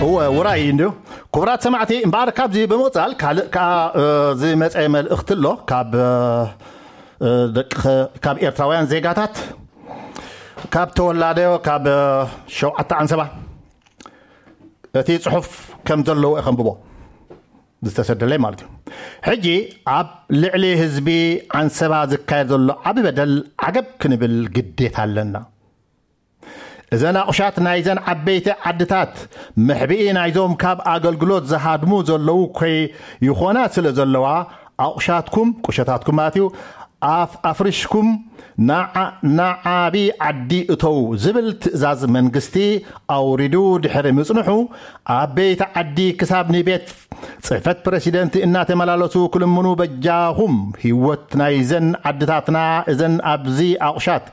እወ፣ ውራይ እዩ እንድዩ። ክቡራት ሰማዕቲ፣ እምበኣር ካብዚ ብምቕጻል ካልእ ከኣ፣ እ፣ ዝመጸ መልእኽቲ ኣሎ ካብ፣ እ፣ እ፣ ደቂ፣ ካብ ኤርትራውያን ዜጋታት፣ ካብ ተወላዶ፣ ካብ፣ እ፣ ሸውዓተ ዓንሰባ። እቲ ጽሑፍ ከም ዘለዎ እየ ከንብቦ፣ ዝተሰደለይ ማለት እዩ። ሕጂ ኣብ ልዕሊ ህዝቢ ዓንሰባ ዝካየድ ዘሎ ዓቢ በደል ዓገብ ክንብል ግዴታ ኣለና። እዘን ኣቑሻት ናይዘን ዓበይቲ ዓድታት መሕብኢ ናይዞም ካብ ኣገልግሎት ዝሃድሙ ዘለዉ ኮይ ይኾና ስለ ዘለዋ፣ ኣቑሻትኩም፣ ቁሸታትኩም ማለት እዩ፣ ኣፍ-፣ ኣፍሪሽኩም ንዓ-፣ ንዓቢ ዓዲ እተዉ ዝብል ትእዛዝ መንግስቲ ኣውሪዱ ድሕሪ ምጽንሑ፣ ዓበይቲ ዓዲ ክሳብ ንቤት ጽሕፈት ፕረሲደንት እናተመላለሱ ክልምኑ፣ በጃኹም ህይወት ናይዘን ዓድታትና፣ እዘን ኣብዚ ኣቑሻት፣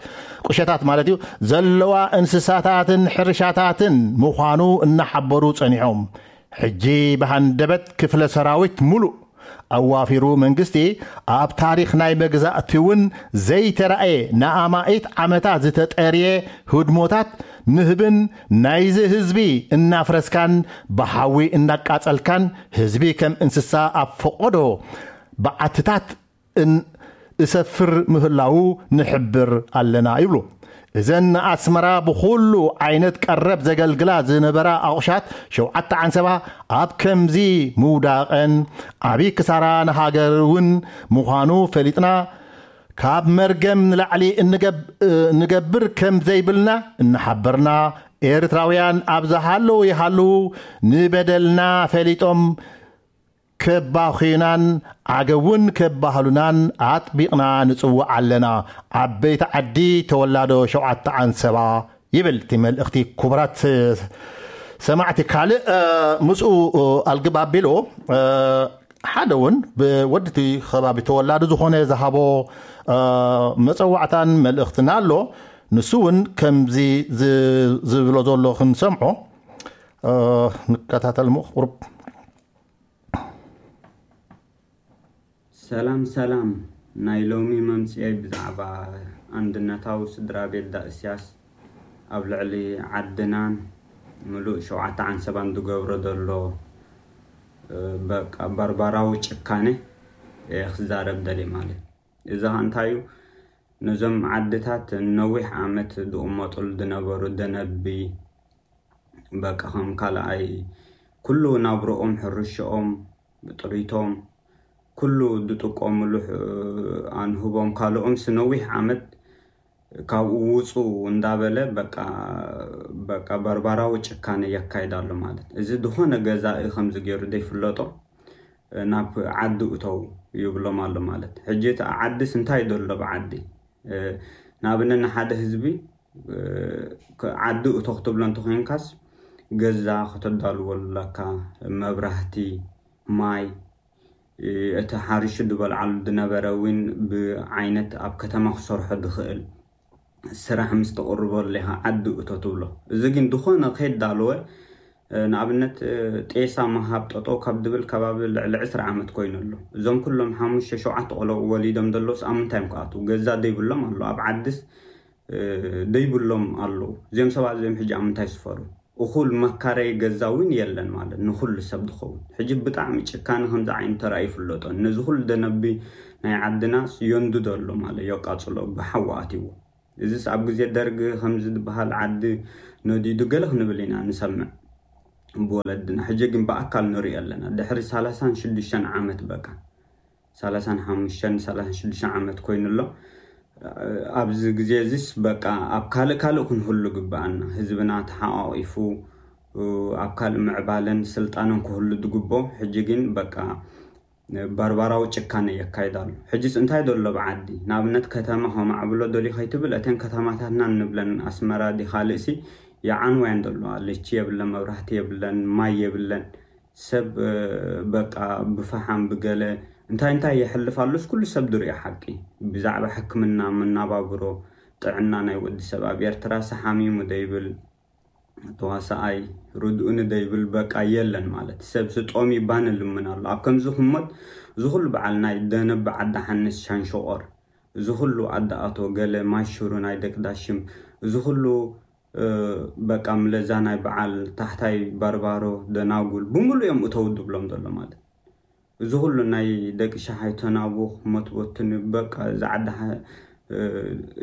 ቁሸታት ማለት እዩ፣ ዘለዋ እንስሳታትን ሕርሻታትን ምዃኑ እናሓበሩ ጸኒሖም። ሕጂ ብሃንደበት ክፍለ ሰራዊት ሙሉእ ኣዋፊሩ መንግስቲ፣ ኣብ ታሪኽ ናይ መግዛእቲ እውን ዘይተራእየ ንኣማኢት ዓመታት ዝተጠርየ ህድሞታት ንህብን ናይዚ ህዝቢ እናፍረስካን ብሓዊ እናቃጸልካን ህዝቢ ከም እንስሳ ኣብ ፈቐዶ በዓትታት እን-፣ እሰፍር ምህላዉ ንሕብር ኣለና ይብሉ። እዘን ንኣስመራ ብኹሉ ዓይነት ቀረብ ዘገልግላ ዝነበራ ኣቑሻት ሸውዓተ ዓንሰባ ኣብ ከምዚ ምውዳቐን ዓቢ ክሳራ ንሃገር እውን ምዃኑ ፈሊጥና፣ ካብ መርገም ንላዕሊ እንገብ-፣ እንገብር ከም ዘይብልና እናሓበርና፣ ኤርትራውያን ኣብ ዝሃለዉ ይሃልዉ ንበደልና ፈሊጦም ከባኺናን ዓገውን ከባህሉናን ኣጥቢቕና ንጽውዕ ኣለና። ዓበይቲ ዓዲ ተወላዶ ሸውዓተ ዓንሰባ ይብል እቲ መልእኽቲ። ክቡራት ሰማዕቲ፣ ካልእ፣ እ፣ ምስኡ፣ እ፣ ኣልግብ ኣቢሉ፣ እ፣ ሓደ እውን ብወዲ እቲ ከባቢ ተወላዲ ዝኾነ ዝሃቦ፣ እ፣ መጸዋዕታን መልእኽትን ኣሎ። ንሱ እውን ከምዚ ዝ-፣ ዝብሎ ዘሎ ክንሰምዖ፣ እ፣ ንከታተል እሞ ቁሩብ። ሰላም ሰላም፣ ናይ ሎሚ መምጽኤይ ብዛዕባ ኣንድነታዊ ስድራ ቤት ዳእስያስ ኣብ ልዕሊ ዓድናን ምሉእ ሸውዓተ ዓንሰባን ዝገብሮ ዘሎ፣ እ፣ በቃ በርባራዊ ጭካነ እየ ክዛረብ ደልየ ማለት። እዚ ኸኣ እንታይ እዩ? ነዞም ዓድታት ነዊሕ ዓመት ዝቕመጡሉ ዝነበሩ ደነቢ፣ በቃ ከም ካልኣይ ኩሉ ናብርኦም፣ ሕርሽኦም፣ ጥሪቶም፣ ኩሉ ዝጥቀምሉ ሕ-፣ ኣንህቦም ካልኦምስ ነዊሕ ዓመት ካብኡ ውጹ እንዳበለ በቃ፣ በቃ በርባራዊ ጭካነ የካይድ ኣሎ ማለት። እዚ ዝኾነ ገዛኢ ከምዚ ገይሩ ዘይፍለጦ ናብ ዓዲ እተው ይብሎም ኣሎ ማለት። ሕጂ እቲ ዓድስ እንታይ ዘሎ ብዓዲ? እ፣ ንኣብነት ንሓደ ህዝቢ፣ እ፣ ክ-፣ ዓዲ እቶ ክትብሎ እንተኾይንካስ ገዛ ከተዳልወሉ ኣለካ፣ መብራህቲ፣ ማይ፣ እ፣ እቲ ሓሪሹ ዝበልዓሉ ዝነበረ እውን ብዓይነት ኣብ ከተማ ክሰርሖ ዝኽእል ስራሕ ምስ ተቕርበሉ ኢኻ ዓዲ እቶ ትብሎ። እዚ ግን ዝኾነ ከይዳለወ፣ እ፣ ንኣብነት፣ እ፣ ጤሳ ምሃብ ጠጠው ካብ ድብል ከባቢ ልዕሊ ዕስራ ዓመት ኮይኑ ኣሎ። እዞም ኩሎም ሓሙሽተ ሸውዓተ ቆልዑ ወሊዶም ዘለውስ ኣብ ምንታይ እዮም ክኣትዉ? ገዛ ዘይብሎም ኣሎ። ኣብ ዓድስ፣ እ፣ ዘይብሎም ኣለዉ። እዚኦም ሰባት እዚኦም ሕጂ ኣብ ምንታይ ይስፈሩ? እኹል መካረዪ ገዛ እውን የለን ማለት ንኹሉ ሰብ ዝኸውን። ሕጂ ብጣዕሚ ጭካነ ከምዚ ዓይነት ተራእዩ ይፍለጦ። ነዚ ኩሉ ደነቢ ናይ ዓድናስ የንድዶ ኣሎ ማለት የቃጽሎ ብሓዊ ኣትይዎ። እዚስ ኣብ ግዜ ደርግ ከምዚ ዝበሃል ዓዲ ነዲዱ ገለ ክንብል ኢና ንሰምዕ። ብወለድና። ሕጂ ግን ብኣካል ንሪኦ ኣለና። ድሕሪ ሰላሳን ሽዱሽተን ዓመት በቃ። ሰላሳን ሓሙሽተን፣ ሰላሳን ሽዱሽተን ዓመት ኮይኑ ኣሎ። ኣብዚ ግዜ እዚስ በቃ ኣብ ካልእ ካልእ ክንህሉ ግብኣና። ህዝብና ተሓቋቒፉ ኣብ ካልእ ምዕባለን ስልጣነን ክህሉ ዝግብኦ። ሕጂ ግን በቃ ባርባራዊ ጭካነ የካይድ ኣሎ። ሕጅስ እንታይ ዘሎ ብዓዲ? ንኣብነት ከተማ ከማዕብሎ ደልዩ ከይትብል፣ እተን ከተማታትና እንብለን ኣስመራ ድዩ ካልእሲ ይዓንዋ እየን ዘለዋ። ልቺ የብለን፣ መብራህቲ የብለን፣ ማይ የብለን። ሰብ፣ እ፣ በቃ ብፈሓም ብገለ እንታይ እንታይ የሕልፍ ኣሎስ ኩሉ ሰብ ዝሪኦ ሓቂ። ብዛዕባ ሕክምና፣ መናባብሮ፣ ጥዕና ናይ ወዲ ሰብ ኣብ ኤርትራሲ ሓሚሙ ደይብል፣ ተዋሳኣይ ርድኡኒ ደይብል በቃ የለን ማለት። ሰብ ስጦሚ ባን ልምን ኣሎ። ኣብ ከምዚ ህሞት እዚ ኩሉ በዓል ናይ ደነብ ዓዲ ሓንስ ሻንሸቆር፣ እዚ ኩሉ ዓዲ ኣቶ ገለ ማይ ሽሩ ናይ ደቂ ዳሽም፣ እዚ ኩሉ በቃ ምለዛ ናይ በዓል ታሕታይ ባርባሮ ደናጉል ብምሉ እዮም እተው ድብሎም ዘሎ ማለት። እዚ ኩሉ ናይ ደቂ ሸሓይ ተናቡኽ መትቦትን በቃ እዚ ዓዲ ሓ-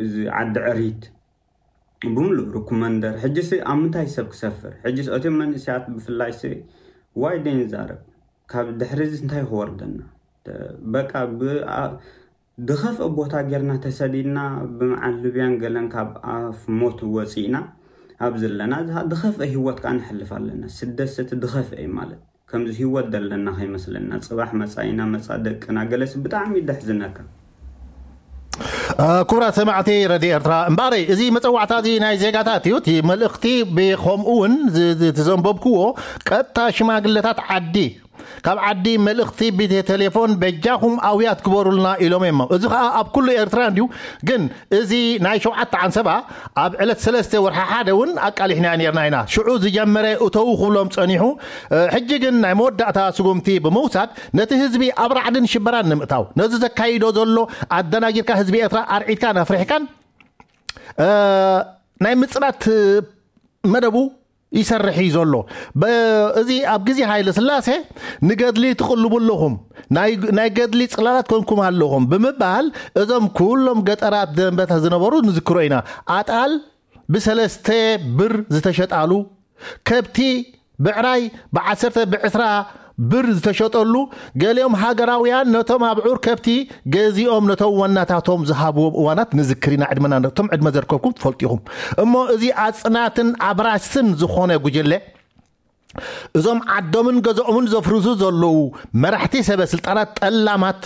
እዚ ዓዲ ዕሪት ብምሉ ርኩመንደር ሕጂ ሲ ኣብ ምንታይ ሰብ ክሰፍር? ሕጂ እቶም መንእሰያት ብፍላይ ሲ ዋይ ደይንዛረብ ካብ ድሕሪ እዚ እንታይ ክወርደና? በቃ ብ- ድኸፍአ ቦታ ጌርና ተሰዲድና ብመዓል ልብያን ገለን ካብ ኣፍ ሞት ወፂእና ኣብ ዘለና ድኸፍአ ህይወት ከዓ ንሕልፍ ኣለና። ስደት ሰቲ ድኸፍአ እዩ ማለት ከምዚ ህይወት ደለና ከይመስለና። ፅባሕ መፃኢና መፃ ደቅና ገለስ ብጣዕሚ ደሕዝነካ። ክቡራት ሰማዕቲ ረድዮ ኤርትራ እምበኣረይ እዚ መፀዋዕታ እዚ ናይ ዜጋታት እዩ። እቲ መልእኽቲ ብከምኡ እውን ዝዘንበብክዎ ቀጥታ ሽማግለታት ዓዲ ካብ ዓዲ መልእኽቲ ብቴሌፎን በጃኹም ኣውያት ግበሩልና ኢሎም እዮም። እዚ ከዓ ኣብ ኩሉ ኤርትራ እንዲዩ። ግን እዚ ናይ ሸውዓተ ዓንሰባ ኣብ ዕለት ሰለስተ ወርሒ ሓደ እውን ኣቃሊሕና ነርና ኢና። ሽዑ ዝጀመረ እተው ክብሎም ፀኒሑ ሕጂ ግን ናይ መወዳእታ ስጉምቲ ብምውሳድ ነቲ ህዝቢ ኣብ ራዕድን ሽበራን ንምእታው ነዚ ዘካይዶ ዘሎ ኣደናጊርካ ህዝቢ ኤርትራ ኣርዒድካን ኣፍሪሕካን ናይ ምፅናት መደቡ ይሰርሕ እዩ ዘሎ። እዚ ኣብ ግዜ ሃይለ ስላሴ ንገድሊ ትቕልቡ ኣለኹም፣ ናይ ገድሊ ፅላላት ኮንኩም ኣለኹም ብምባል እዞም ኩሎም ገጠራት ደንበታ ዝነበሩ ንዝክሮ ኢና። ኣጣል ብሰለስተ ብር ዝተሸጣሉ፣ ከብቲ ብዕራይ ብዓሰርተ ብዕስራ ብር ዝተሸጠሉ፣ ገሊኦም ሃገራውያን ነቶም ኣብዑር ከብቲ ገዚኦም ነቶም ዋናታቶም ዝሃብዎም እዋናት ንዝክር ኢና። ዕድመና ነቶም ዕድመ ዘርከብኩም ትፈልጡ ኢኹም። እሞ እዚ ኣጽናትን ኣብራስን ዝኾነ ጉጅለ እዞም ዓዶምን ገዝኦምን ዘፍርሱ ዘለዉ መራሕቲ ሰበ ስልጣናት ጠላማት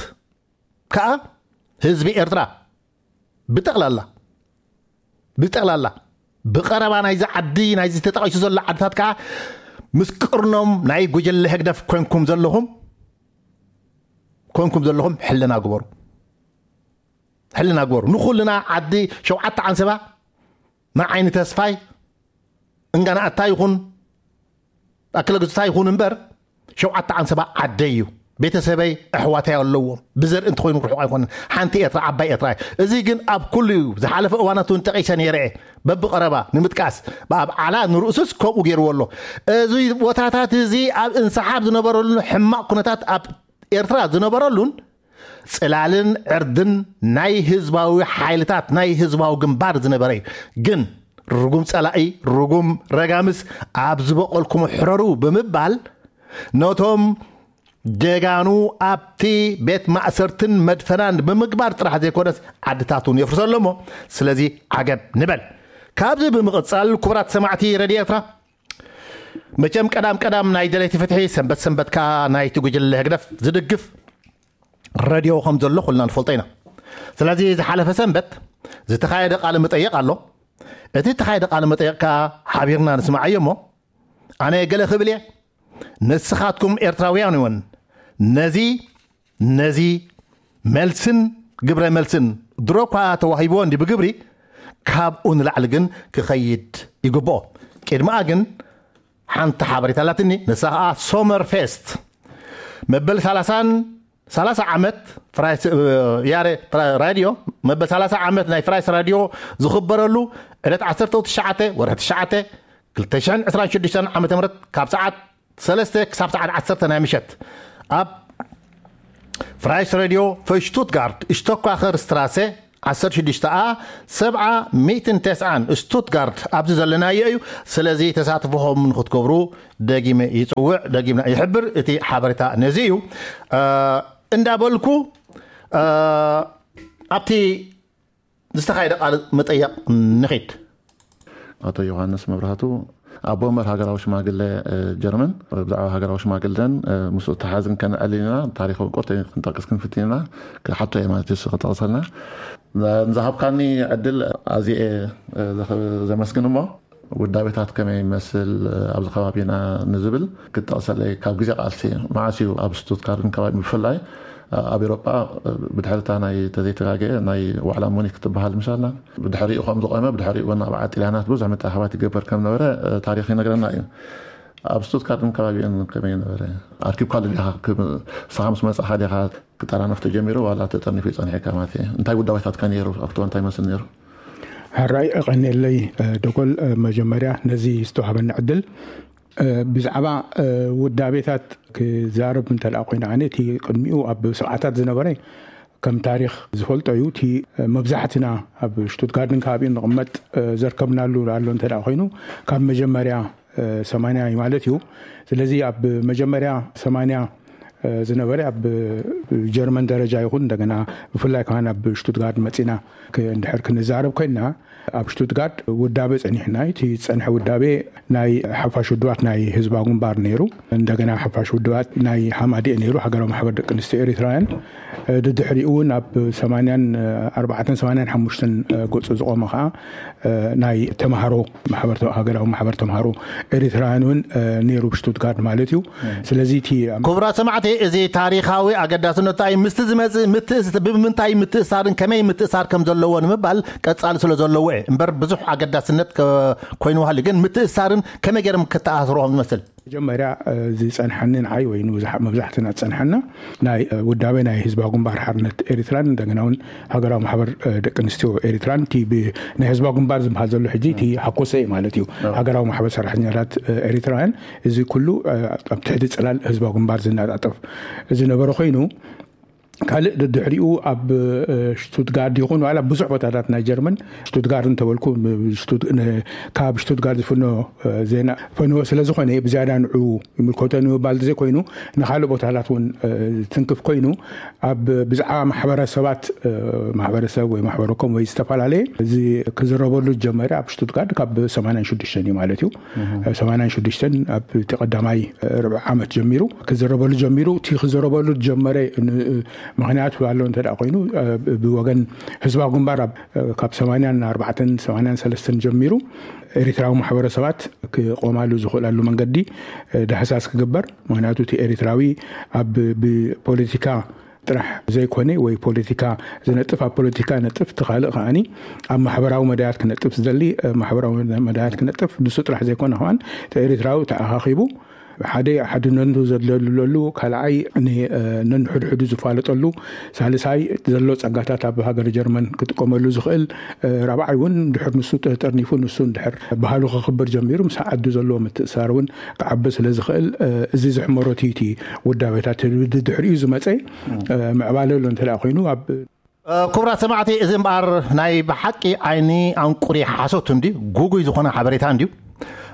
ከኣ ህዝቢ ኤርትራ ብጠቕላላ ብጠቕላላ ብቐረባ ናይዚ ዓዲ ናይዚ ተጠቒሱ ዘሎ ዓድታት ከዓ ምስ ቅርኖም ናይ ጉጅለ ህግደፍ ኮንኩም ዘለኹም ኮንኩም ዘለኹም ሕልና ግበሩ ሕልና ግበሩ ንኹልና ዓዲ ሸውዓተ ዓንሰባ ንዓይኒ ተስፋይ እንጋናኣታ ይኹን ኣክለ ግዝታ ይኹን እምበር ሸውዓተ ዓንሰባ ዓደይ እዩ ቤተሰበይ ኣሕዋተይ ኣለዎም ብዘርኢ እንተኮይኑ ርሑቕ ኣይኮነን ሓንቲ ኤርትራ ዓባይ ኤርትራ እዚ ግን ኣብ ኩሉ እዩ ዝሓለፈ እዋናት እውን ጠቂሰ ነይረ በብቀረባ ንምጥቃስ ብኣብ ዓላ ንርእሱስ ከምኡ ገይርዎ ኣሎ እዚ ቦታታት እዚ ኣብ እንስሓብ ዝነበረሉ ሕማቕ ኩነታት ኣብ ኤርትራ ዝነበረሉን ጽላልን ዕርድን ናይ ህዝባዊ ሓይልታት ናይ ህዝባዊ ግንባር ዝነበረ እዩ። ግን ርጉም ጸላኢ፣ ርጉም ረጋምስ ኣብ ዝበቐልኩሞ ሕረሩ ብምባል ነቶም ጀጋኑ ኣብቲ ቤት ማእሰርትን መድፈናን ብምግባር ጥራሕ ዘይኮነስ ዓድታት እውን የፍርሰ ኣሎ እሞ ስለዚ ዓገብ ንበል። ካብዚ ብምቕጻል ክቡራት ሰማዕቲ ረድዮ ኤርትራ መቸም ቀዳም ቀዳም ናይ ደለይቲ ፍትሒ ሰንበት ሰንበት ከኣ ናይቲ ጉጅለ ህግደፍ ዝድግፍ ረድዮ ከም ዘሎ ኩልና ንፈልጦ ኢና ስለዚ ዝሓለፈ ሰንበት ዝተኻየደ ቃለ መጠየቕ ኣሎ እቲ ዝተኻየደ ቃለ መጠየቕ ከኣ ሓቢርና ንስማዓዮ እሞ ኣነ ገለ ክብል እየ ንስኻትኩም ኤርትራውያን እውን ነዚ ነዚ መልስን ግብረ መልስን ድሮ እኳ ተዋሂብዎ እንዲ ብግብሪ ካብኡ ንላዕሊ ግን ክኸይድ ይግብኦ ቅድሚኣ ግን ሓንቲ ሓበሬታ ኣላትኒ ንሳ ከዓ ሶመር ፌስት መበል 30 ዓመት ራድዮ መበል 30 ዓመት ናይ ፍራይስ ራድዮ ዝኽበረሉ ዕለት 19 ወርሒ 9 2026 ዓ ም ካብ ሰዓት ሰለስተ ክሳብ ሰዓት ዓሰርተ ናይ ምሸት ኣብ ፍራይስ ሬድዮ ፈሽቱትጋርድ ሽቶኳኸር ስትራሰ ዓሰርተ ሽዱሽተ ኣ ሰብዓ ሚእትን ተስዓን ስቱትጋርድ ኣብዚ ዘለናዮ እዩ። ስለዚ ተሳትፎኹም ንክትገብሩ ደጊመ ይፅውዕ፣ ደጊምና ይሕብር። እቲ ሓበሬታ ነዚ እዩ። እንዳበልኩ ኣብቲ ዝተኻየደ ቃለ መጠየቕ ንኺድ። ኣቶ ዮሃንስ መብራህቱ ኣቦ ወንበር ሃገራዊ ሽማግለ ጀርመን ብዛዕባ ሃገራዊ ሽማግለን ምስኡ ተሓዝን ከነዕልል ኢና። ታሪኻዊ ቁርተ ክንጠቅስ ክንፍትን ኢና። ክሓቶ እየ ማለት እዩ ክጠቕሰልና ንዝሃብካኒ ዕድል ኣዝየ ዘመስግን እሞ ውዳቤታት ከመይ ይመስል ኣብዚ ከባቢና ንዝብል ክጠቕሰለይ ካብ ግዜ ቃልሲ መዓስ እዩ ኣብ ስቱትጋርትን ከባቢ ብፍላይ ኣብ ኤሮጳ ብድሕሪ እታ ናይ ተዘይተጋገየ ናይ ዋዕላ ሙኒክ ትበሃል ምሻላ ብድሕሪኡ ከም ዝቆመ ብድሕሪኡ እውን ኣብ ዓጢልያናት ብዙሕ ምትእኽኻባት ይገበር ከም ነበረ ታሪኽ ይነግረና እዩ። ኣብ ስቱትጋርትን ከባቢኡን ከመይ ነበረ? ኣርኪብካ ኣሎ ዲኻ? ንስኻ ምስ መጻኻ ዲኻ ክጠራነፍ ተጀሚሩ ዋላ ተጠርኒፉ ይጸኒሐካ ማለት እየ። እንታይ ውዳቤታትካ ነይሩ? ኣብቲ እንታይ መስል ነይሩ? ሕራይ እቐንየለይ፣ እ፣ ደጎል፣ እ፣ መጀመርያ ነዚ ዝተዋህበኒ ዕድል፣ እ፣ ብዛዕባ፣ እ፣ ውዳቤታት ክዛረብ እንተ ደኣ ኮይነ፣ ኣነ እቲ ቅድሚኡ ኣብ ሰብዓታት ዝነበረ ከም ታሪኽ ዝፈልጦ እዩ። እቲ፣ እ፣ መብዛሕትና ኣብ ሽቱትጋርድን ከባቢኡን ንቕመጥ፣ እ፣ ዘርከብናሉ ኣሎ እንተ ደኣ ኮይኑ፣ ካብ መጀመርያ፣ እ፣ ሰማንያ እዩ ማለት እዩ። ስለዚ ኣብ መጀመርያ ሰማንያ፣ እ፣ ዝነበረ ኣብ ጀርመን ደረጃ ይኹን፣ እንደገና ብፍላይ ከማን ኣብ ሽቱትጋርድ መጺና ክ-፣ እንድሕር ክንዛረብ ኮይንና፣ ኣብ ሽቱትጋርድ ውዳቤ ጸኒሕና እዩ። እቲ ዝጸንሐ ውዳቤ ናይ ሓፋሽ ውድባት ናይ ህዝባዊ ግንባር ነይሩ። እንደገና ሓፋሽ ውድባት ናይ ሓማዲኤ ነይሩ፣ ሃገራዊ ማሕበር ደቂ ኣንስትዮ ኤሪትራውያን። እ፣ ድድሕሪኡ እውን ኣብ ሰማንያን ኣርባዕተን ሰማንያን ሓሙሽተን፣ እ፣ ገጹ ዝቖመ ኸዓ፣ እ፣ ናይ ተምሃሮ ማሕበር ተ-፣ ሃገራዊ ማሕበር ተምሃሮ ኤሪትራውያን እውን፣ እ፣ ነይሩ ብሽቱትጋርድ ማለት እዩ። ስለዚ እቲ ክቡራት ሰማዕቲ፣ እዚ ታሪኻዊ ኣገዳስነቱ እንታይ፣ ምስቲ ዝመጽእ ምትእስ-፣ ብምንታይ ምትእሳርን ከመይ ምትእሳር ከም ዘለዎ ንምባል ቀጻሊ ስለ ዘለዎ እየ። እምበር ብዙሕ ኣገዳስነት ከ-፣ ኮይኑ ሃልዩ፣ ግን ምትእሳርን ከመይ ገይሮም ክተኣሳስርዎ ከም ዝመስል። መጀመርያ፣ እ፣ ዝጸንሐኒ ንዓይ ወይ ንብዙሕ-፣ መብዛሕትና ዝጸንሐና ናይ፣ እ፣ ውዳቤ ናይ ህዝባዊ ግንባር ሓርነት ኤሪትራን እንደገና እውን ሃገራዊ ማሕበር፣ እ፣ ደቂ ኣንስትዮ ኤሪትራን፣ እቲ ብ-፣ ናይ ህዝባዊ ግንባር ዝበሃል ዘሎ ሕጂ እቲ ሃኮሰ ማለት እዩ። ሃገራዊ ማሕበር ሰራሕተኛታት፣ እ፣ ኤሪትራውያን፣ እዚ ኩሉ፣ እ፣ ኣብ ትሕቲ ጽላል ህዝባዊ ግንባር ዝነጣጠፍ ዝነበረ ኮይኑ፣ ካልእ ድድሕሪኡ ኣብ፣ እ፣ ሽቱትጋርድ ይኹን ዋላ ብዙሕ ቦታታት ናይ ጀርመን፣ ሽቱትጋርድ እንተበልኩ፣ ብ-፣ ሽቱት-፣ ን-፣ ካብ ሽቱትጋርድ ዝፍኖ፣ እ፣ ዜና ፈነወ ስለ ዝኾነ፣ ብዝያዳ ንዑ ይምልከቶ ንምባል ዘይኮይኑ፣ ንኻልእ ቦታታት እውን፣ እ፣ ዝትንክፍ ኮይኑ፣ ኣብ ብዛዕባ ማሕበረሰባት፣ እ፣ ማሕበረሰብ ወይ ማሕበረኮም ወይ ዝተፈላለየ እዚ ክዝረበሉ ዝጀመረ ኣብ ሽቱትጋርድ ካብ ሰማንያን ሽዱሽተን እዩ ማለት እዩ። ሰማንያን ሽዱሽተን ኣብ እቲ ቀዳማይ ርብዒ ዓመት ጀሚሩ ክዝረበሉ ጀሚሩ። እቲ ክዝረበሉ ዝጀመረ ን-፣ ምኽንያት ኣሎ እንተ ደኣ ኮይኑ፣ እ፣ ብወገን ህዝባዊ ግንባር ኣብ፣ እ፣ ካብ ሰማንያን ኣርባዕተን ሰማንያን ሰለስተን ጀሚሩ ኤሪትራዊ ማሕበረሰባት ክቆማሉ ዝኽእላሉ መንገዲ፣ እ፣ ዳህሳስ ክግበር። ምኽንያቱ እቲ ኤሪትራዊ ኣብ ብፖለቲካ ጥራሕ ዘይኮነ ወይ ፖለቲካ ዝነጥፍ ኣብ ፖለቲካ ነጥፍ፣ እቲ ካልእ ከዓኒ ኣብ ማሕበራዊ መዳያት ክነጥፍ ዝደሊ፣ እ፣ ማሕበራዊ መዳያት ክነጥፍ፣ ንሱ ጥራሕ ዘይኮነ ከማን እቲ ኤሪትራዊ ተኣኻኺቡ ሓደ ሓድነቱ ዘደልለሉ፣ ካልኣይ ን-፣ እ፣ ነንሕድሕዱ ዝፋለጠሉ፣ ሳልሳይ ዘሎ ጸጋታት ኣብ ሃገር ጀርመን ክጥቀመሉ ዝኽእል፣ እ፣ ራብዓይ እውን ድሕር ንሱ ተ-፣ ጠርኒፉ ንሱ እንድሕር ባህሉ ከኽብር ጀሚሩ ምስ ዓዱ ዘለዎ ምትእሳር እውን ክዓቢ ስለ ዝኽእል፣ እ፣ እዚ ዝሕመሮ እቲ፣ እቲ ውዳቤታት ድሕሪኡ ዝመጸ፣ እ፣ ምዕባለ ኣሎ እንተ ደኣ ኮይኑ ኣብ እ፣ ክቡራት ሰማዕቲ፣ እዚ እምበኣር ናይ ብሓቂ ዓይኒ ኣንቁሪ ሓሶት እንድዩ፣ ጉጉይ ዝኾነ ሓበሬታ እንድዩ።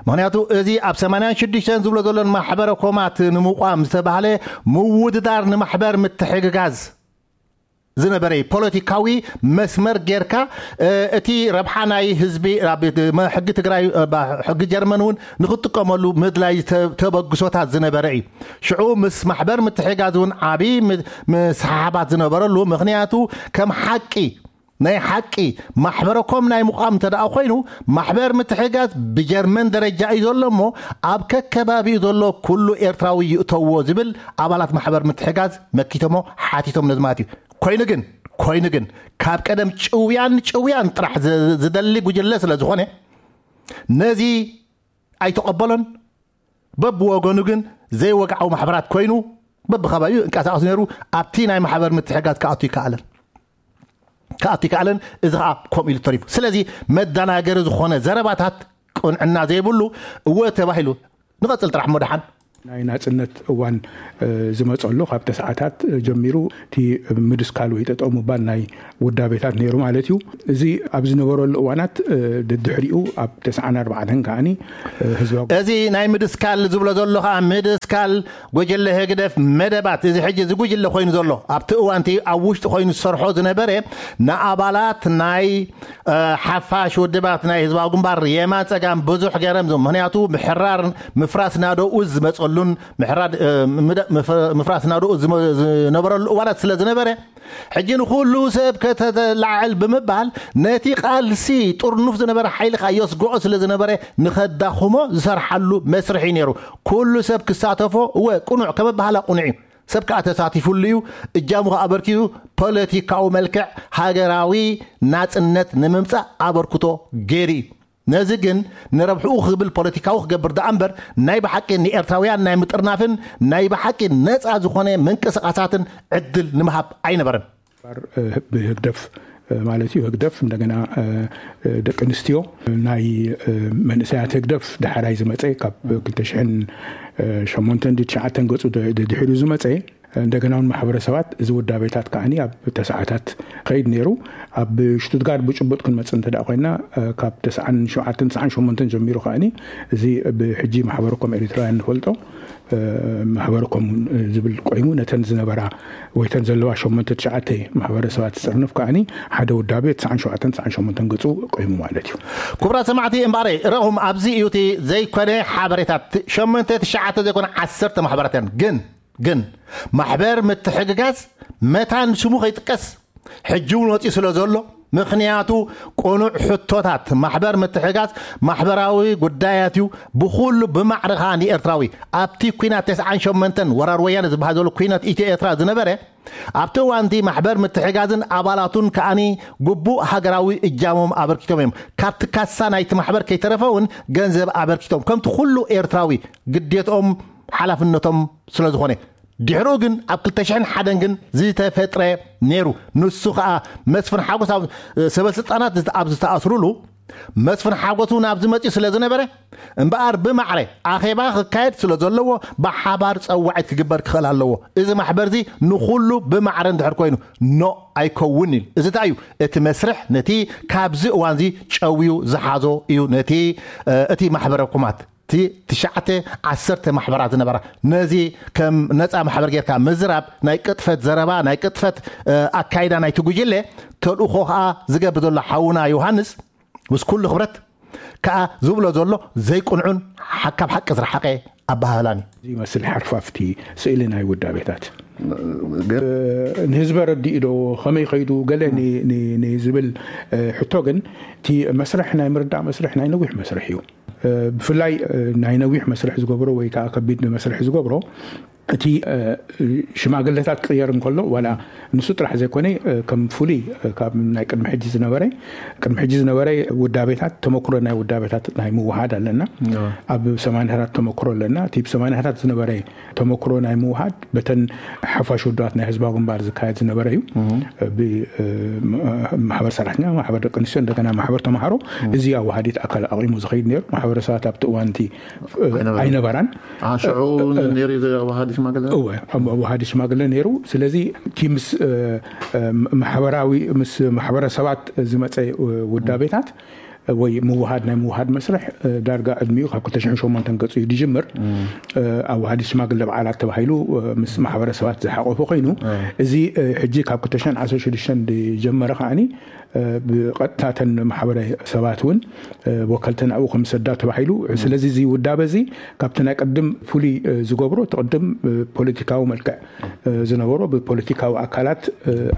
ምኽንያቱ እዚ ኣብ ሰማንያን ሽዱሽተን ዝብሎ ዘሎን ማሕበረ ኮማት ንምቋም ዝተባህለ ምውድዳር ንማሕበር ምትሕግጋዝ ዝነበረ እዩ። ፖለቲካዊ መስመር ጌርካ፣ እ፣ እቲ ረብሓ ናይ ህዝቢ ኣብ መ-፣ ሕጊ ትግራይ፣ እ፣ ባ-፣ ሕጊ ጀርመን እውን ንኽጥቀመሉ ምድላይ ዝተ-፣ ተበግሶታት ዝነበረ እዩ። ሽዑ ምስ ማሕበር ምትሕጋዝ እውን ዓብዪ ም-፣ ምስሓሓባት ዝነበረሉ፣ ምኽንያቱ ከም ሓቂ፣ ናይ ሓቂ ማሕበረኮም ናይ ምቋም እንተ ደኣ ኮይኑ፣ ማሕበር ምትሕጋዝ ብጀርመን ደረጃ እዩ ዘሎ እሞ፣ ኣብ ከከባቢኡ ዘሎ ኩሉ ኤርትራዊ ይእተዎ ዝብል ኣባላት ማሕበር ምትሕጋዝ መኪቶሞ ሓቲቶም ነዚ ማለት እዩ። ኮይኑ ግን፣ ኮይኑ ግን፣ ካብ ቀደም ጭውያን ጭውያን ጥራሕ ዝ-፣ ዝደሊ ጉጅለ ስለ ዝኾነ፣ ነዚ ኣይተቐበሎን። በብወገኑ ግን ዘይወግዓዊ ማሕበራት ኮይኑ፣ በብኸባቢኡ እንቀሳቐስ ነይሩ። ኣብቲ ናይ ማሕበር ምትሕጋዝ ክኣቱ ይከኣለን፣ ክኣቱ ይከኣለን። እዚ ኸኣ ከምኡ ኢሉ ተሪፉ። ስለዚ መደናገሪ ዝኾነ ዘረባታት፣ ቅንዕና ዘይብሉ፣ እወ ተባሂሉ። ንቐጽል ጥራሕ እሞ ደሓን። ናይ ናጽነት እዋን፣ እ፣ ዝመጸሉ ካብ ተስዓታት ጀሚሩ እቲ ምድስካል ወይ ጠጠው ምባል ናይ ውዳቤታት ነይሩ ማለት እዩ። እዚ ኣብ ዝነበረሉ እዋናት፣ እ፣ ደድሕሪኡ ኣብ ተስዓን ኣርባዕተን ከዓኒ፣ እ፣ ህዝባዊ እዚ ናይ ምድስካል ዝብሎ ዘሎ ኸዓ ምድስካል ጉጅለ ህግደፍ መደባት፣ እዚ ሕጂ እዚ ጉጅለ ኮይኑ ዘሎ ኣብቲ እዋንቲ ኣብ ውሽጢ ኮይኑ ዝሰርሖ ዝነበረ ንኣባላት ናይ፣ እ፣ ሓፋሽ ውድባት ናይ ህዝባዊ ግንባር የማን ጸጋም ብዙሕ ገረም ዞም። ምኽንያቱ ምሕራር ምፍራስ ናደኡ ዝመጸሉን ምሕራድ፣ እ፣ ምደ-፣ ምፍ-፣ ምፍራስ ናደኡ ዝመ-፣ ዝነበረሉ እዋናት ስለ ዝነበረ፣ ሕጂ ንኹሉ ሰብ ከተተላዕል ብምባል ነቲ ቃልሲ ጥርኑፍ ዝነበረ ሓይሊ ከኣ የስግኦ ስለ ዝነበረ ንኸዳኽሞ ዝሰርሓሉ መስርሕ እዩ ነይሩ። ኩሉ ሰብ ክሳተፎ፣ እወ፣ ቅኑዕ ከም ኣበሃህላ ቅኑዕ እዩ። ሰብ ከኣ ተሳቲፉሉ እዩ። እጃሙ ከኣ ኣበርኪቱ ፖለቲካዊ መልክዕ ሃገራዊ ናጽነት ንምምጻእ ኣበርክቶ ገይሩ እዩ። ነዚ ግን ንረብሕኡ ክብል ፖለቲካዊ ክገብር ደኣ እምበር ናይ ብሓቂ ንኤርትራውያን ናይ ምጥርናፍን ናይ ብሓቂ ነጻ ዝኾነ ምንቅስቓሳትን ዕድል ንምሃብ ኣይነበረን። ባር፣ እ፣ ብህግደፍ ማለት እዩ። ህግደፍ እንደገና ደቂ ኣንስትዮ ናይ መንእሰያት ህግደፍ ዳሕራይ ዝመፀ ካብ ክልተ ሽሕን ሸሞንተን ድዩ ትሽዓተን ገፁ ድሕሪኡ ዝመፀ እንደገና እውን ማሕበረሰባት እዚ ውዳቤታት ከዓኒ ኣብ ተስዓታት ከይድ ነይሩ። ኣብ ሽቱትጋርድ ብጭቡጥ ክንመፅእ እንተ ኮይና ካብ ተስዓን ሸውዓተን ተስዓን ሸሞንተን ጀሚሩ ከዓኒ እዚ ብሕጂ ማሕበረኮም ኤሪትራውያን ንፈልጦ ማሕበረኮም ዝብል ቆይሙ ነተን ዝነበራ ወይተን ዘለዋ ሸሞንተ ትሽዓተ ማሕበረሰባት ዝፅርንፍ ከዓኒ ሓደ ውዳቤ ተስዓን ሸውዓተን ተስዓን ሸሞንተን ገፁ ቆይሙ ማለት እዩ። ክቡራት ሰማዕቲ እምበኣረይ ረኹም ኣብዚ እዩ እቲ ዘይኮነ ሓበሬታት ሸሞንተ ትሽዓተ ዘይኮነ ዓሰርተ ማሕበራት እየን ግን ግን ማሕበር ምትሕግጋዝ መታን ስሙ ከይጥቀስ ሕጂ እውን ወፂኡ ስለ ዘሎ ምክንያቱ ቅኑዕ ሕቶታት ማሕበር ምትሕጋዝ ማሕበራዊ ጉዳያት እዩ። ብኩሉ ብማዕርኻ ንኤርትራዊ ኣብቲ ኩናት ተስዓን ሸሞንተን ወራር ወያነ ዝበሃል ዘሎ ኩናት ኢትዮ ኤርትራ ዝነበረ ኣብቲ እዋንቲ ማሕበር ምትሕጋዝን ኣባላቱን ከዓኒ ግቡእ ሃገራዊ እጃሞም ኣበርኪቶም እዮም። ካብቲ ካሳ ናይቲ ማሕበር ከይተረፈ እውን ገንዘብ ኣበርኪቶም ከምቲ ኩሉ ኤርትራዊ ግዴትኦም ሓላፍነቶም ስለ ዝኾነ ድሕሩ ግን ኣብ ክልተ ሽሕን ሓደን ግን ዝተፈጥረ ነይሩ። ንሱ ከዓ መስፍን ሓጎስ ኣብ ሰበስልጣናት ኣብ ዝተኣስሩሉ መስፍን ሓጎስ እውን ኣብዚ መፅኡ ስለ ዝነበረ እምበኣር ብማዕረ ኣኼባ ክካየድ ስለ ዘለዎ ብሓባር ፀዋዒት ክግበር ክኽእል ኣለዎ። እዚ ማሕበር እዚ ንኩሉ ብማዕረ እንድሕር ኮይኑ ኖ ኣይከውን ኢሉ። እዚ እንታይ እዩ? እቲ መስርሕ ነቲ ካብዚ እዋን እዚ ጨውዩ ዝሓዞ እዩ። ነቲ እቲ ማሕበረ ኮማት እቲ ትሽዓተ ዓሰርተ ማሕበራት ዝነበራ ነዚ ከም ነፃ ማሕበር ጌርካ ምዝራብ ናይ ቅጥፈት ዘረባ ናይ ቅጥፈት ኣካይዳ ናይቲ ጉጅለ ተልእኾ ከዓ ዝገብር ዘሎ ሓውና ዮሃንስ ምስ ኩሉ ክብረት ከዓ ዝብሎ ዘሎ ዘይቅንዑን ካብ ሓቂ ዝረሓቀ ኣባሃህላን እዩ። ዝመስል ሓርፋፍቲ ስእሊ ናይ ውዳቤታት ንህዝበ ረዲኡ ዶ ከመይ ከይዱ ገለ ዝብል ሕቶ ግን እቲ መስርሕ ናይ ምርዳእ መስርሕ ናይ ነዊሕ መስርሕ እዩ። ብፍላይ ናይ ነዊሕ መስርሕ ዝገብሮ ወይ ከዓ ከቢድ መስርሕ ዝገብሮ እቲ ሽማግለታት ክቕየር እንከሎ ዋላ ንሱ ጥራሕ ዘይኮነ ከም ፍሉይ ካብ ናይ ቅድሚ ሕጂ ዝነበረ ቅድሚ ሕጂ ዝነበረ ውዳቤታት ተመክሮ ናይ ውዳቤታት ናይ ምውሃድ ኣለና። ኣብ ሰማንያታት ተመክሮ ኣለና። እቲ ብ ሰማንያታት ዝነበረ ተመክሮ ናይ ምውሃድ በተን ሓፋሽ ውድባት ናይ ህዝባዊ ግንባር ዝካየድ ዝነበረ እዩ። ብማሕበር ሰራሕተኛ ማሕበር ደቂ ኣንስትዮ እንደገና ማሕበር ተምሃሮ እዚ ኣዋሃዲት ኣካል ኣቂሙ ዝኸይድ ነይሩ። ማሕበረሰባት ኣብቲ እዋን እቲ ኣይነበራን። ሽዑ ነይሩ ዘዋሃዲ ሽማግለ እወ ኣብ ኣዋሃዲ ሽማግለ ነይሩ። ስለዚ እቲ ምስ ማሕበራዊ ምስ ማሕበረሰባት ዝመፀ ውዳቤታት ወይ ምውሃድ ናይ ምውሃድ መስርሕ ዳርጋ ዕድሚኡ ካብ ክልተ ሽሕን ሸሞንተን ገፁ እዩ ዝጅምር። ኣዋሃዲ ሽማግለ በዓላት ተባሂሉ ምስ ማሕበረሰባት ዝሓቆፈ ኮይኑ እዚ ሕጂ ካብ ክልተ ሽሕን ዓሰርተ ሽዱሽተን ዝጀመረ ከዓኒ ብቐጥታ ተን ማሕበረ ሰባት እውን ወከልተን ኣብኡ ከም ዝሰዳ ተባሂሉ። ስለዚ እዚ ውዳበ እዚ ካብቲ ናይ ቅድም ፍሉይ ዝገብሮ እቲ ቅድም ፖለቲካዊ መልክዕ ዝነበሮ ብፖለቲካዊ ኣካላት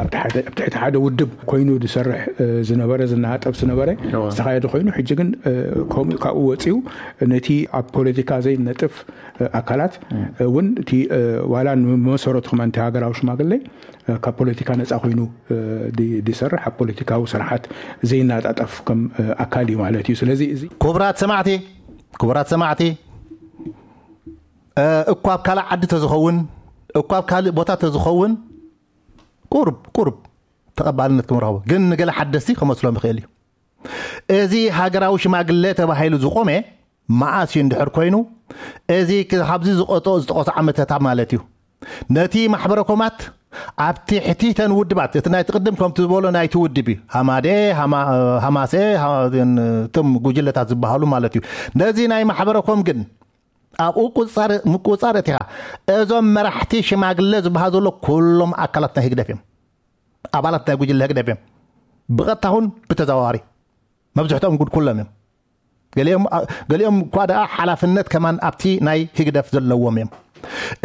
ኣብ ትሕቲ ሓደ ውድብ ኮይኑ ዝሰርሕ ዝነበረ ዝናጠፍ ዝነበረ ዝተኻየደ ኮይኑ ሕጂ ግን ከምኡ ካብኡ ወፂኡ ነቲ ኣብ ፖለቲካ ዘይነጥፍ ኣካላት እውን እቲ ዋላ ንመሰረቱ ከማ እቲ ሃገራዊ ሽማግለ ካብ ፖለቲካ ነፃ ኮይኑ ዝሰርሕ ኣብ ፖለቲካዊ ስርሓት ዘይናጣጠፍ ከም ኣካል እዩ ማለት እዩ። ስለዚ እዚ ክቡራት ሰማዕቲ ክቡራት ሰማዕቲ እኳ ኣብ ካልእ ዓዲ ተዝኸውን እኳ ኣብ ካልእ ቦታ ተዝኸውን ቁሩብ ቁሩብ ተቐባልነት ክምረኸቦ ግን ንገለ ሓደስቲ ከመስሎም ይኽእል እዩ። እዚ ሃገራዊ ሽማግለ ተባሂሉ ዝቆመ መዓስ እዩ እንድሕር ኮይኑ እዚ ካብዚ ዝቆጦ ዝጠቐሱ ዓመተታ ማለት እዩ። ነቲ ማሕበረ ኮማት ኣብ ትሕቲ ተን ውድባት እቲ ናይ ትቅድም ከምቲ ዝበሎ ናይቲ ውድብ እዩ ሃማደ ሃማሰ እቶም ጉጅለታት ዝበሃሉ ማለት እዩ። ነዚ ናይ ማሕበረ ኮም ግን ኣብኡ ምቁፅፃር እቲኻ እዞም መራሕቲ ሽማግለ ዝበሃሉ ዘሎ ኩሎም ኣካላት ናይ ህግደፍ እዮም። ኣባላት ናይ ጉጅለ ህግደፍ እዮም። ብቐጥታ ኹን ብተዘዋዋሪ መብዝሕትኦም ጉድ ኩሎም እዮም። ገሊኦም እኳ ደኣ ሓላፍነት ከማን ኣብቲ ናይ ህግደፍ ዘለዎም እዮም።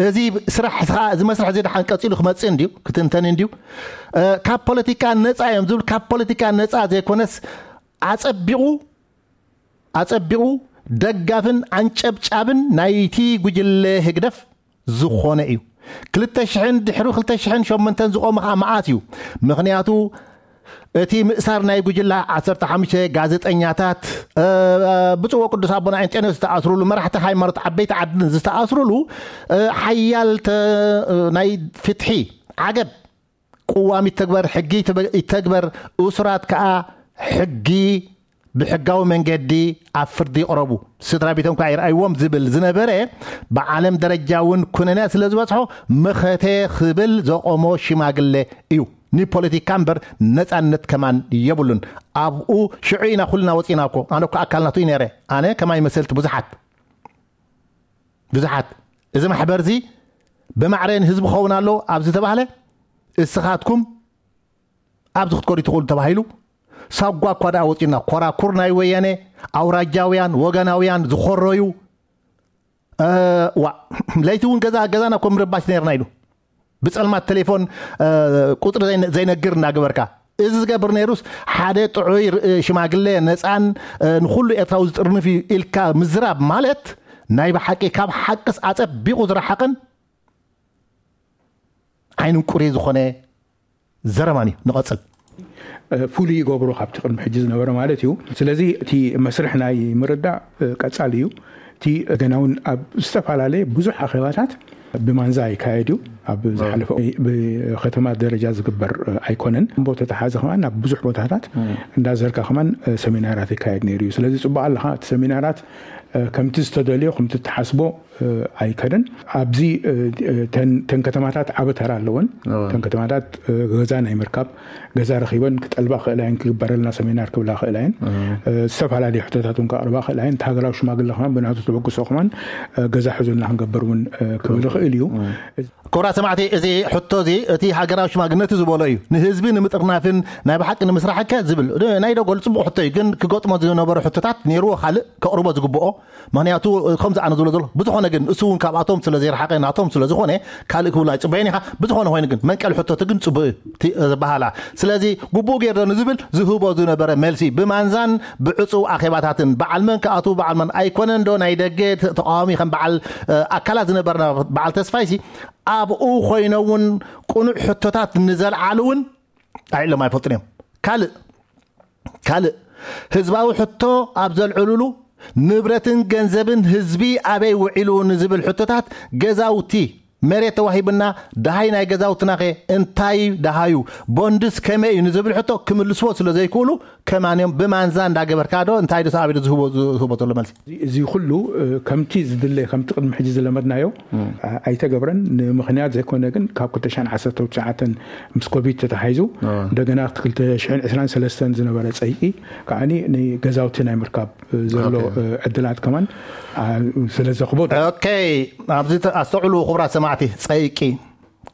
እዚ ስራሕ እዚ መስርሕ እዚ ደሓን ቀፂሉ ክመፅእ እንድዩ ክትንተን እንድዩ። ካብ ፖለቲካ ነፃ እዮም ዝብል ካብ ፖለቲካ ነፃ ዘይኮነስ ኣፀቢቑ ኣፀቢቑ ደጋፍን ኣንጨብጫብን ናይቲ ጉጅለ ህግደፍ ዝኾነ እዩ። ክልተ ሽሕን ድሕሪ ክልተ ሽሕን ሸሞንተን ዝቖመ ከዓ መዓት እዩ። ምኽንያቱ እቲ ምእሳር ናይ ጉጅላ ዓሰርተ ሓሙሽተ ጋዜጠኛታት ብፁዕ ቅዱስ ኣቦና ኣንጠንዮስ ዝተኣስሩሉ መራሕቲ ሃይማኖት ዓበይቲ ዓድን ዝተኣስሩሉ ሓያል ናይ ፍትሒ ዓገብ ቅዋም ይተግበር፣ ሕጊ ይተበ- ይተግበር፣ እሱራት ከዓ ሕጊ ብሕጋዊ መንገዲ ኣብ ፍርዲ ይቕረቡ፣ ስድራ ቤቶም ከዓ ይርኣይዎም ዝብል ዝነበረ፣ ብዓለም ደረጃ እውን ኩነነ ስለ ዝበፅሖ፣ መኸተ ክብል ዘቆሞ ሽማግሌ እዩ። ንፖለቲካ እምበር ነፃነት ከማን የብሉን። ኣብኡ ሽዑ ኢና ኩልና ወፂና እኮ። ኣነ እኮ ኣካል ናቱ እዩ ነይረ። ኣነ ከማይ መሰልቲ ብዙሓት ብዙሓት፣ እዚ ማሕበር እዚ ብማዕረ ንህዝቢ ክኸውን ኣለዎ ኣብ ዝተባህለ፣ እስኻትኩም ኣብዚ ክትኮዱ ትኽእሉ ተባሂሉ፣ ሳጓ እኳ ደኣ ወፂና፣ ኮራኩር ናይ ወያነ፣ ኣውራጃውያን ወገናውያን ዝኾረዩ፣ እ፣ ዋ ለይቲ እውን ገዛ ገዛና እኮ ምርባሽ ነርና ኢሉ፣ ብፀልማት ቴሌፎን፣ እ፣ ቁፅሪ ዘይነ- ዘይነግር እናገበርካ። እዚ ዝገብር ነይሩስ፣ ሓደ ጥዑይ ር- ሽማግሌ፣ ነፃን፣ እ፣ ንኩሉ ኤርትራዊ ዝጥርንፍ እዩ ኢልካ ምዝራብ ማለት፣ ናይ ብሓቂ ካብ ሓቅስ ኣፀቢቑ ዝረሓቕን ዓይንን ቁሪ ዝኾነ ዘረባን እዩ። ንቐፅል። ፍሉይ ይገብሮ ካብቲ ቅድሚ ሕጂ ዝነበረ ማለት እዩ። ስለዚ እቲ መስርሕ ናይ ምርዳእ ቀፃሊ እዩ። እቲ ገና እውን ኣብ ዝተፈላለየ ብዙሕ ኣኼባታት ብማንዛ ይካየድ እዩ። ኣብ ዝሓለፈ ብከተማ ደረጃ ዝግበር ኣይኮነን። እምቦ ተተሓዘ ከማን ናብ ብዙሕ ቦታታት እንዳዘርካ ከማን ሰሚናራት ይካየድ ነይሩ እዩ። ስለዚ ፅቡቅ ኣለካ። እቲ ሰሚናራት ከምቲ ዝተደልዮ ከምቲ ተሓስቦ ኣይከደን። ኣብዚ ተን ከተማታት ዓበ ተራ ኣለወን። ተን ከተማታት ገዛ ናይ ምርካብ፣ ገዛ ረኪበን ክጠልባ ክእላ እየን፣ ክግበረልና ሰሚናር ክብላ ክእላ እየን። ዝተፈላለዩ ሕቶታት እውን ከቅርባ ክእላ እየን። እቲ ሃገራዊ ሽማግለ ከማን ብናቱ ተበግሶ ከማን ገዛ ሕዙልና ክንገብር እውን ክብል ይኽእል እዩ። ክቡራት ሰማዕቲ፣ እዚ ሕቶ እዚ እቲ ሃገራዊ ሽማግለ ነቲ ዝበሎ እዩ። ንህዝቢ ንምጥርናፍን ናይ ብሓቂ ንምስራሕ ከ ዝብል ናይ ደጎል ጽቡቕ ሕቶ እዩ፣ ግን ክገጥሞ ዝነበሩ ሕቶታት ነይርዎ ካልእ ከቕርቦ ዝግብኦ። ምክንያቱ ከምዚ ኣነ ዝብሎ ዘሎ ብዝኾነ ግን እሱ እውን ካብኣቶም ስለ ዘይረሓቐ ናቶም ስለ ዝኾነ ካልእ ክብሉ ኣይጽበየን ኢኻ። ብዝኾነ ኮይኑ ግን መንቀሊ ሕቶት ግን ጽቡቕ እዩ እቲ ዝበሃላ። ስለዚ ግቡእ ገይር ዶ ንዝብል ዝህቦ ዝነበረ መልሲ ብማንዛን ብዕጹው ኣኼባታትን በዓል መን ክኣትዉ በዓል መን ኣይኮነን ዶ ናይ ደገ ተቃዋሚ ከም በዓል ኣካላት ዝነበርና በዓል ተስፋይሲ ኣብኡ ኮይኖም እውን ቅኑዕ ሕቶታት ንዘልዓሉ እውን ኣዒሎም ኣይፈልጡን እዮም። ካልእ ካልእ ህዝባዊ ሕቶ ኣብ ዘልዕሉሉ ንብረትን ገንዘብን ህዝቢ ኣበይ ውዒሉ ንዝብል ሕቶታት ገዛውቲ መሬት ተዋሂብና ደሃይ ናይ ገዛውትናኸ እንታይ ደሃዩ ቦንድስ ከመይ እዩ ንዝብል ሕቶ ክምልስዎ ስለ ዘይክእሉ ከማን እዮም ብማንዛ እንዳገበርካ ዶ እንታይ ዶ ሳብ ኢሉ ዝህቦ ዝህቦ ዘሎ መልሲ። እዚ ኩሉ ከምቲ ዝድለ ከምቲ ቅድሚ ሕጂ ዝለመድናዮ ኣይተገብረን። ንምክንያት ዘይኮነ ግን ካብ ክልተ ሽሕን ዓሰርተ ትሽዓተን ምስ ኮቪድ ተተሓይዙ እንደገና ክልተ ሽሕን ዕስራን ሰለስተን ዝነበረ ፀይቂ ከዓኒ ንገዛውቲ ናይ ምርካብ ዘሎ ዕድላት ከማን ስለ ዘኽቦ። ኦኬ፣ ኣብዚ ኣስተውዕሉ ክቡራት ሰማዕቲ፣ ፀይቂ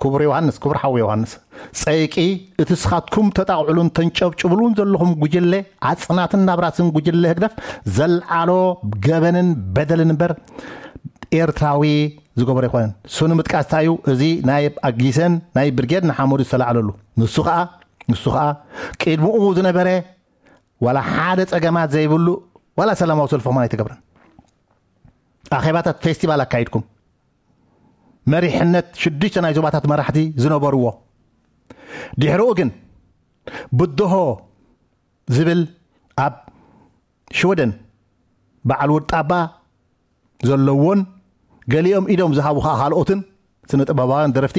ክቡር ዮሃንስ፣ ክቡር ሓው ዮሃንስ፣ ጸይቂ እቲ ስኻትኩም ተጣቕዕሉን ተንጨብጭብሉን ዘለኹም ጉጅለ ኣጽናትን ናብራስን ጉጅለ ህግደፍ ዘልዓሎ ገበንን በደልን እምበር ኤርትራዊ ዝገበሮ ኣይኮነን። እሱ ንምጥቃስ እንታይ እዩ? እዚ ናይ ኣጊሰን ናይ ብርጌድ ንሓመዱ ዝተላዕለሉ ንሱ ኸኣ ንሱ ኸኣ ቅድምኡ ዝነበረ ዋላ ሓደ ጸገማት ዘይብሉ ዋላ ሰላማዊ ሰልፊ ኸማን ኣይተገብረን። ኣኼባታት ፌስቲቫል ኣካይድኩም መሪሕነት ሽዱሽተ ናይ ዞባታት መራሕቲ ዝነበርዎ ድሕርኡ ግን ብድሆ ዝብል ኣብ ሽወደን በዓል ውርጣባ ዘለዎን ገሊኦም ኢዶም ዝሃቡ ከዓ ካልኦትን ስነ ጥበባውያን ደረፍቲ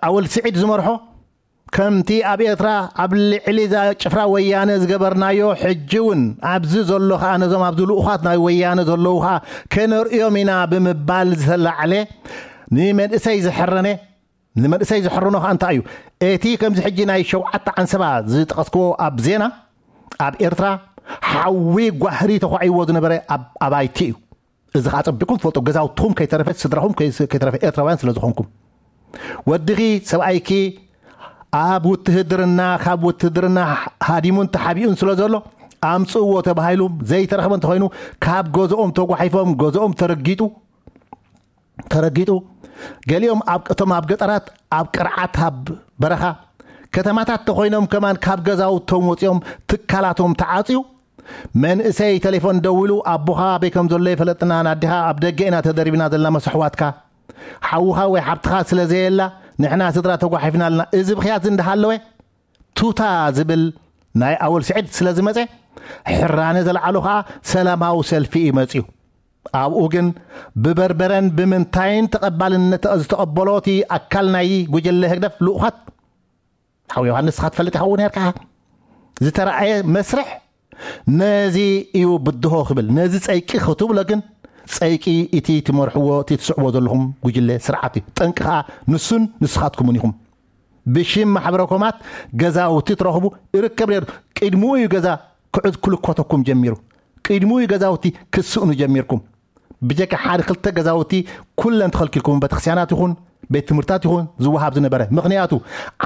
ኣወል ስዒድ ዝመርሖ ከምቲ ኣብ ኤርትራ ኣብ ልዕሊ እዛ ጭፍራ ወያነ ዝገበርናዮ ሕጂ እውን ኣብዚ ዘሎ ከዓ ነዞም ኣብዚ ልኡኻት ናይ ወያነ ዘለዉ ከዓ ከነርእዮም ኢና ብምባል ዝተላዕለ ንመንእሰይ ዝሕረነ ንመንእሰይ ዝሕርኖ ከዓ እንታይ እዩ? እቲ ከምዚ ሕጂ ናይ ሸውዓተ ዓንሰባ ዝጠቐስክዎ ኣብ ዜና ኣብ ኤርትራ ሓዊ ጓህሪ ተኳዒዎ ዝነበረ ኣብ ኣባይቲ እዩ። እዚ ከዓ ጸቢቅኩም ትፈልጡ፣ ገዛውትኹም ከይተረፈ ስድራኹም ከይተረፈ ኤርትራውያን ስለ ዝኾንኩም። ወድኺ ሰብኣይኪ ኣብ ውትህድርና ካብ ውትህድርና ሃዲሙን ተሓቢኡን ስለ ዘሎ ኣምጽእዎ ተባሂሉ ዘይተረኽበ እንተኾይኑ ካብ ገዝኦም ተጓሒፎም ገዝኦም ተረጊጡ ተረጊጡ ገሊኦም እቶም ኣብ ገጠራት ኣብ ቅርዓት ኣብ በረኻ ከተማታት ተኾይኖም ከማን ካብ ገዛውቶም ወፂኦም ትካላቶም ተዓፅዩ መንእሰይ ቴሌፎን ደዊሉ ኣቦኻ ኣበይ ከም ዘሎ የፈለጥናን ኣዴኻ ኣብ ደገ ኢና ተደሪብና ዘለና መስ ኣሕዋትካ ሓውኻ ወይ ሓብትኻ ስለ ዘየላ ንሕና ስድራ ተጓሒፍና ኣለና። እዚ ብኽያት እንዳሃለወ ቱታ ዝብል ናይ ኣወል ስዒድ ስለ ዝመፀ ሕራነ ዘልዓሉ ከዓ ሰላማዊ ሰልፊ እዩ መፅዩ። ኣብኡ ግን ብበርበረን ብምንታይን ተቐባልነት ዝተቐበሎ እቲ ኣካል ናይ ጉጅለ ህግደፍ ልኡኻት፣ ሓው ዮሃንስ፣ ንስኻ ትፈልጥ ኢኻ እውን ነርካ፣ ዝተረኣየ መስርሕ ነዚ እዩ ብድሆ ክብል። ነዚ ጸይቂ ክትብሎ ግን፣ ጸይቂ እቲ ትመርሕዎ፣ እቲ ትስዕቦ ዘለኹም ጉጅለ ስርዓት እዩ። ጠንቂ ከኣ ንሱን ንስኻትኩምን ኢኹም። ብሽም ማሕበረ ኮማት ገዛውቲ ትረኽቡ ይርከብ ነይሩ። ቅድሚኡ እዩ ገዛ ክዕዝ ክልኮተኩም ጀሚሩ። ቅድሚኡ እዩ ገዛውቲ ክስእኑ ጀሚርኩም። ብጀካ ሓደ ክልተ ገዛውቲ ኩለን ተኸልኪልኩም፣ ቤተክርስትያናት ይኹን ቤት ትምህርታት ይኹን ዝወሃብ ዝነበረ። ምኽንያቱ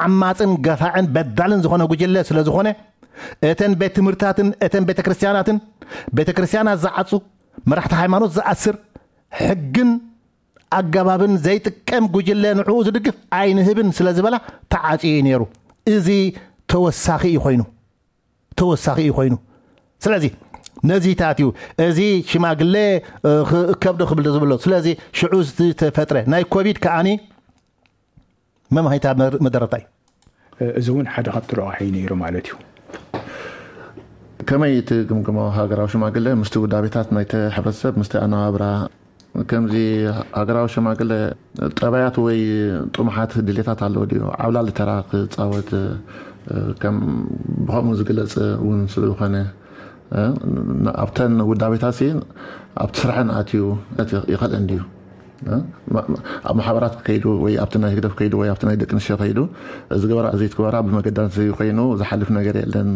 ዓማፅን ገፋዕን በዳልን ዝኾነ ጉጅለ ስለ ዝኾነ፣ እተን ቤት ትምህርታትን እተን ቤተክርስትያናትን፣ ቤተክርስትያናት ዝዓፁ፣ መራሕቲ ሃይማኖት ዝኣስር፣ ሕግን ኣገባብን ዘይጥቀም ጉጅለ ንዕኡ ዝድግፍ ኣይንህብን ስለ ዝበላ ተዓፅዩ እዩ ነይሩ። እዚ ተወሳኺ እዩ ኮይኑ፣ ተወሳኺ እዩ ኮይኑ። ስለዚ ነዚታት እዩ እዚ ሽማግለ እ፣ ኽ- ከብዶ ክብል ዝብሎ። ስለዚ ሽዑ ዝተፈጥረ ናይ ኮቪድ ከኣኒ መምሃይታ መር- መደረታ እዩ። እዚ እውን ሓደ ካብቲ ረቋሒ ነይሩ ማለት እዩ። ከመይ ትግምግሞ ሃገራዊ ሽማግለ ምስቲ ውዳቤታት ናይቲ ሕብረተሰብ፣ ምስቲ ኣነባብራ? ከምዚ ሃገራዊ ሽማግለ ጠባያት ወይ ጥሙሓት ድሌታት ኣለዎ ድዩ? ዓብላሊ ተራ ክፃወት እ፣ ከም ብኸምኡ ዝግለፅ እውን ስለዝኾነ እ፣ ኣብተን ውዳቤታት ሲ ኣብቲ ስራሕን ኣትዩ ይኽእለን ድዩ? እ፣ ማ- ኣብ ማሕበራት ከይዱ ወይ ኣብቲ ናይ ህግደፍ ከይዱ ወይ ኣብቲ ናይ ደቂ ኣንስትዮ ከይዱ እዚ ግበራ እዚ ትግበራ ብመገዳት ኮይኑ ዝሓልፍ ነገር የለን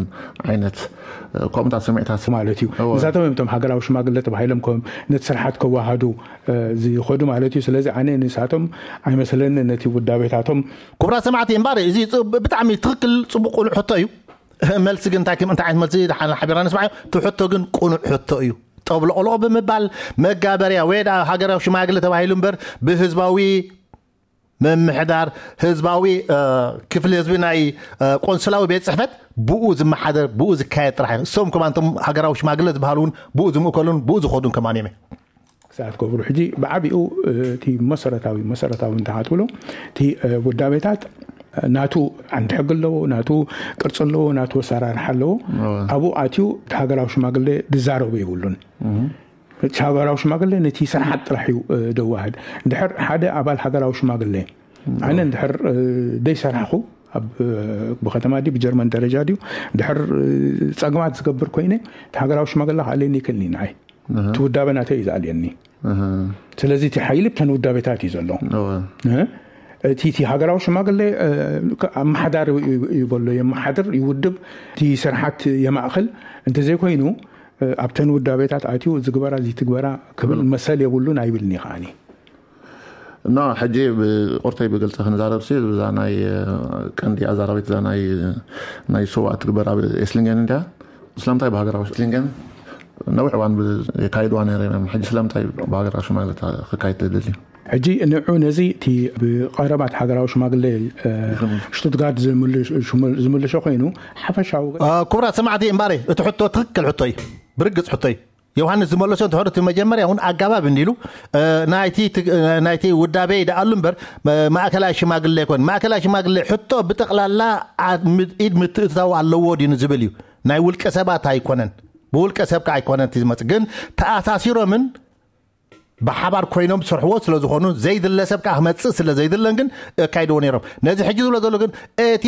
ዓይነት እ፣ ከምኡታት ስምዒታት ማለት እዩ። እወ። ንሳቶም እዮም እቶም ሃገራዊ ሽማግለ ተባሂሎም ከም ነቲ ስርሓት ከወሃዱ እ፣ ዝኸዱ ማለት እዩ። ስለዚ ኣነ ንሳቶም ኣይመስለኒ ነቲ ውዳቤታቶም። ክቡራት ሰማዕቲ፣ እምበኣር እዚ ጽ- ብጣዕሚ ትኽክል፣ ጽቡቕ፣ ቅኑዕ ሕቶ እዩ። መልሲ ግን እንታይ ከም- እንታይ ዓይነት መልሲ ደሓን ሓቢርና ንስማዕ። እቲ ሕቶ ግን ቅኑዕ ሕቶ እዩ። ጠብለቕለቕ ብምባል መጋበርያ ወይ ደኣ ሃገራዊ ሽማግለ ተባሂሉ እምበር፣ ብህዝባዊ ምምሕዳር፣ ህዝባዊ እ፣ ክፍሊ ህዝቢ ናይ እ፣ ቆንስላዊ ቤት ጽሕፈት ብኡ ዝመሓደር፣ ብኡ ዝካየድ ጥራሕ እዩ። እሶም ከማን እቶም ሃገራዊ ሽማግለ ዝበሃሉ እውን ብኡ ዝምእከሉን ብኡ ዝኸዱን ከማን እዮም። ክሳት ገብሩ ሕጂ ብዓቢኡ እቲ መሰረታዊ መሰረታዊ እንተሃትብሎ እቲ ውዳቤታት ናቱ ዓንዲ ሕጊ ኣለዎ፣ ናቱ ቅርፂ ኣለዎ፣ ናቱ ኣሰራርሓ ኣለዎ። ኣብኡ ኣትዩ እቲ ሃገራዊ ሽማግሌ ዝዛረቦ የብሉን። እቲ ሃገራዊ ሽማግሌ ነቲ ስርሓት ጥራሕ እዩ ደዋህድ። እንድሕር ሓደ ኣባል ሃገራዊ ሽማግሌ ኣነ እንድሕር ደይሰራሕኹ ኣብ ብከተማ ድዩ ብጀርመን ደረጃ ድዩ እንድሕር ፀግማት ዝገብር ኮይነ፣ እቲ ሃገራዊ ሽማግሌ ክኣልየኒ ይክእልኒ ንዓይ። እቲ ውዳበ ናተይ እዩ ዝኣልየኒ። ስለዚ እቲ ሓይሊ ብተን ውዳቤታት እዩ ዘሎ። እቲ እቲ ሃገራዊ ሽማግሌ ኣመሓዳሪ ይበሎ፣ የመሓድር፣ ይውድብ፣ እቲ ስርሓት የማእኽል። እንተዘይኮይኑ ኣብተን ውዳቤታት ኣትዩ ዝግበራ ዝይትግበራ ክብል መሰል የብሉን ኣይብልኒ ከዓኒ። እና ሕጂ ብቁርተይ ብግልፂ ክንዛረብ ሲ እዛ ናይ ቀንዲ ኣዛራቢት እዛ ናይ ናይ ሶባ ትግበር ኣብ ኤስሊንገን እንዲያ። ስለምንታይ ብሃገራዊ ኤስሊንገን ነዊሕ እዋን የካይድዋ ነይረ እዮም። ሕጂ ስለምንታይ ብሃገራዊ ሽማግለ ክካይድ ትደልዩ? ሕጂ ንዑ ነዚ እቲ ብቐረባት ሃገራዊ ሽማግለ ሽቱትጋርድ ዝምልሾ ኮይኑ ሓፈሻዊ። ክቡራት ሰማዕቲ፣ እምበኣር እቲ ሕቶ ትኽክል ሕቶ እዩ፣ ብርግፅ ሕቶ እዩ። ዮሃንስ ዝመለሶ እንተኾነ እቲ መጀመርያ እውን ኣጋባብ እንዲሉ ናይቲ ውዳቤ ይደኣሉ እምበር ማእከላይ ሽማግሌ ኣይኮን። ማእከላይ ሽማግሌ ሕቶ ብጠቕላላ ኢድ ምትእትታው ኣለዎ ድዩ ዝብል እዩ። ናይ ውልቀ ሰባት ኣይኮነን፣ ብውልቀ ሰብ ከዓ ኣይኮነን እቲ ዝመፅእ፣ ግን ተኣሳሲሮምን ብሓባር ኮይኖም ዝሰርሕዎ ስለ ዝኾኑ ዘይድለ ሰብ ከዓ ክመፅእ ስለ ዘይድለን ግን እካይድዎ ነይሮም። ነዚ ሕጂ ዝብሎ ዘሎ ግን እቲ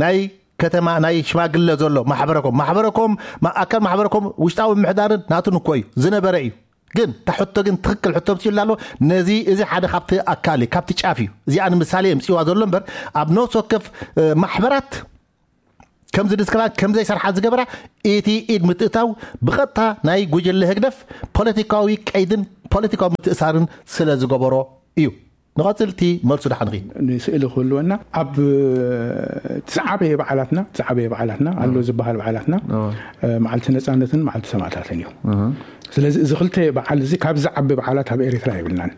ናይ ከተማ ናይ ሽማግለ ዘሎ ማሕበረኮም ማሕበረኮም ኣካል ማሕበረኮም ውሽጣዊ ምሕዳርን ናቱን እኮ እዩ ዝነበረ እዩ። ግን እታ ሕቶ ግን ትኽክል ሕቶ ምፅኡ ኣሎ። ነዚ እዚ ሓደ ካብቲ ኣካል እዩ፣ ካብቲ ጫፍ እዩ። እዚኣ ንምሳሌ የምፅዋ ዘሎ እምበር ኣብ ነፍሲ ወከፍ ማሕበራት ከምዚ ድስከላ ከምዘይሰርሓ ዝገበራ እቲ ኢድ ምትእታው ብቐጥታ ናይ ጉጅለ ህግደፍ ፖለቲካዊ ቀይድን ፖለቲካዊ ምትእሳርን ስለ ዝገበሮ እዩ። ንቐፅል እቲ መልሱ ደሓን ኺ። ንስእሊ ክህልወና ኣብ ዝዓበየ በዓላትና ዝዓበየ በዓላትና ኣሎ ዝበሃል በዓላትና መዓልቲ ነፃነትን መዓልቲ ሰማእታትን እዩ። ስለዚ እዚ ክልተ በዓል እዚ ካብ ዝዓቢ በዓላት ኣብ ኤርትራ የብልናን።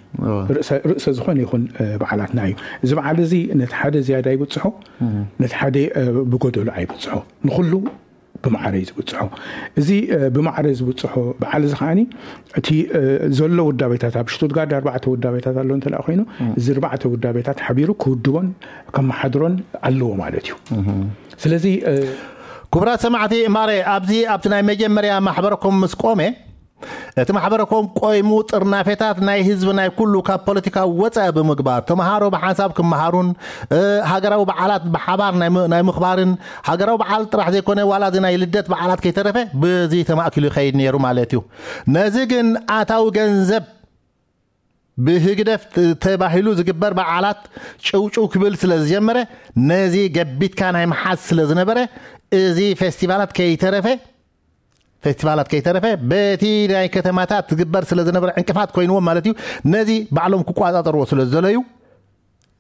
ርእሰ ዝኾነ ይኹን በዓላትና እዩ። እዚ በዓል እዚ ነቲ ሓደ ዝያዳ ይብፅሖ፣ ነቲ ሓደ ብጎደሎ ኣይብፅሖ። ንኩሉ ብማዕረ እዩ ዝብፅሖ። እዚ ብማዕረ ዝብፅሖ በዓል እዚ ከዓኒ እቲ ዘሎ ውዳቤታት ኣብ ሽቱትጋርድ ኣርባዕተ ውዳቤታት ኣሎ እንተ ኮይኑ እዚ ኣርባዕተ ውዳቤታት ሓቢሩ ክውድቦን ከመሓድሮን ኣለዎ ማለት እዩ። ስለዚ ክቡራት ሰማዕቲ ማረ ኣብዚ ኣብቲ ናይ መጀመርያ ማሕበረኩም ምስ ቆመ እቲ ማሕበረኮም ቆይሙ ጥርናፌታት ናይ ህዝቢ ናይ ኩሉ ካብ ፖለቲካዊ ወፃኢ ብምግባር ተምሃሮ ብሓንሳብ ክመሃሩን ሃገራዊ በዓላት ብሓባር ናይ ምኽባርን፣ ሃገራዊ በዓል ጥራሕ ዘይኮነ ዋላ እዚ ናይ ልደት በዓላት ከይተረፈ ብዚ ተማእኪሉ ይኸይድ ነይሩ ማለት እዩ። ነዚ ግን ኣታዊ ገንዘብ ብህግደፍ ተባሂሉ ዝግበር በዓላት ጭውጭው ክብል ስለ ዝጀመረ፣ ነዚ ገቢትካ ናይ ምሓዝ ስለ ዝነበረ፣ እዚ ፌስቲቫላት ከይተረፈ ፌስቲቫላት ከይተረፈ በቲ ናይ ከተማታት ዝግበር ስለ ዝነበረ ዕንቅፋት ኮይንዎም ማለት እዩ። ነዚ ባዕሎም ክቋጻጸርዎ ስለ ዝደለዩ፣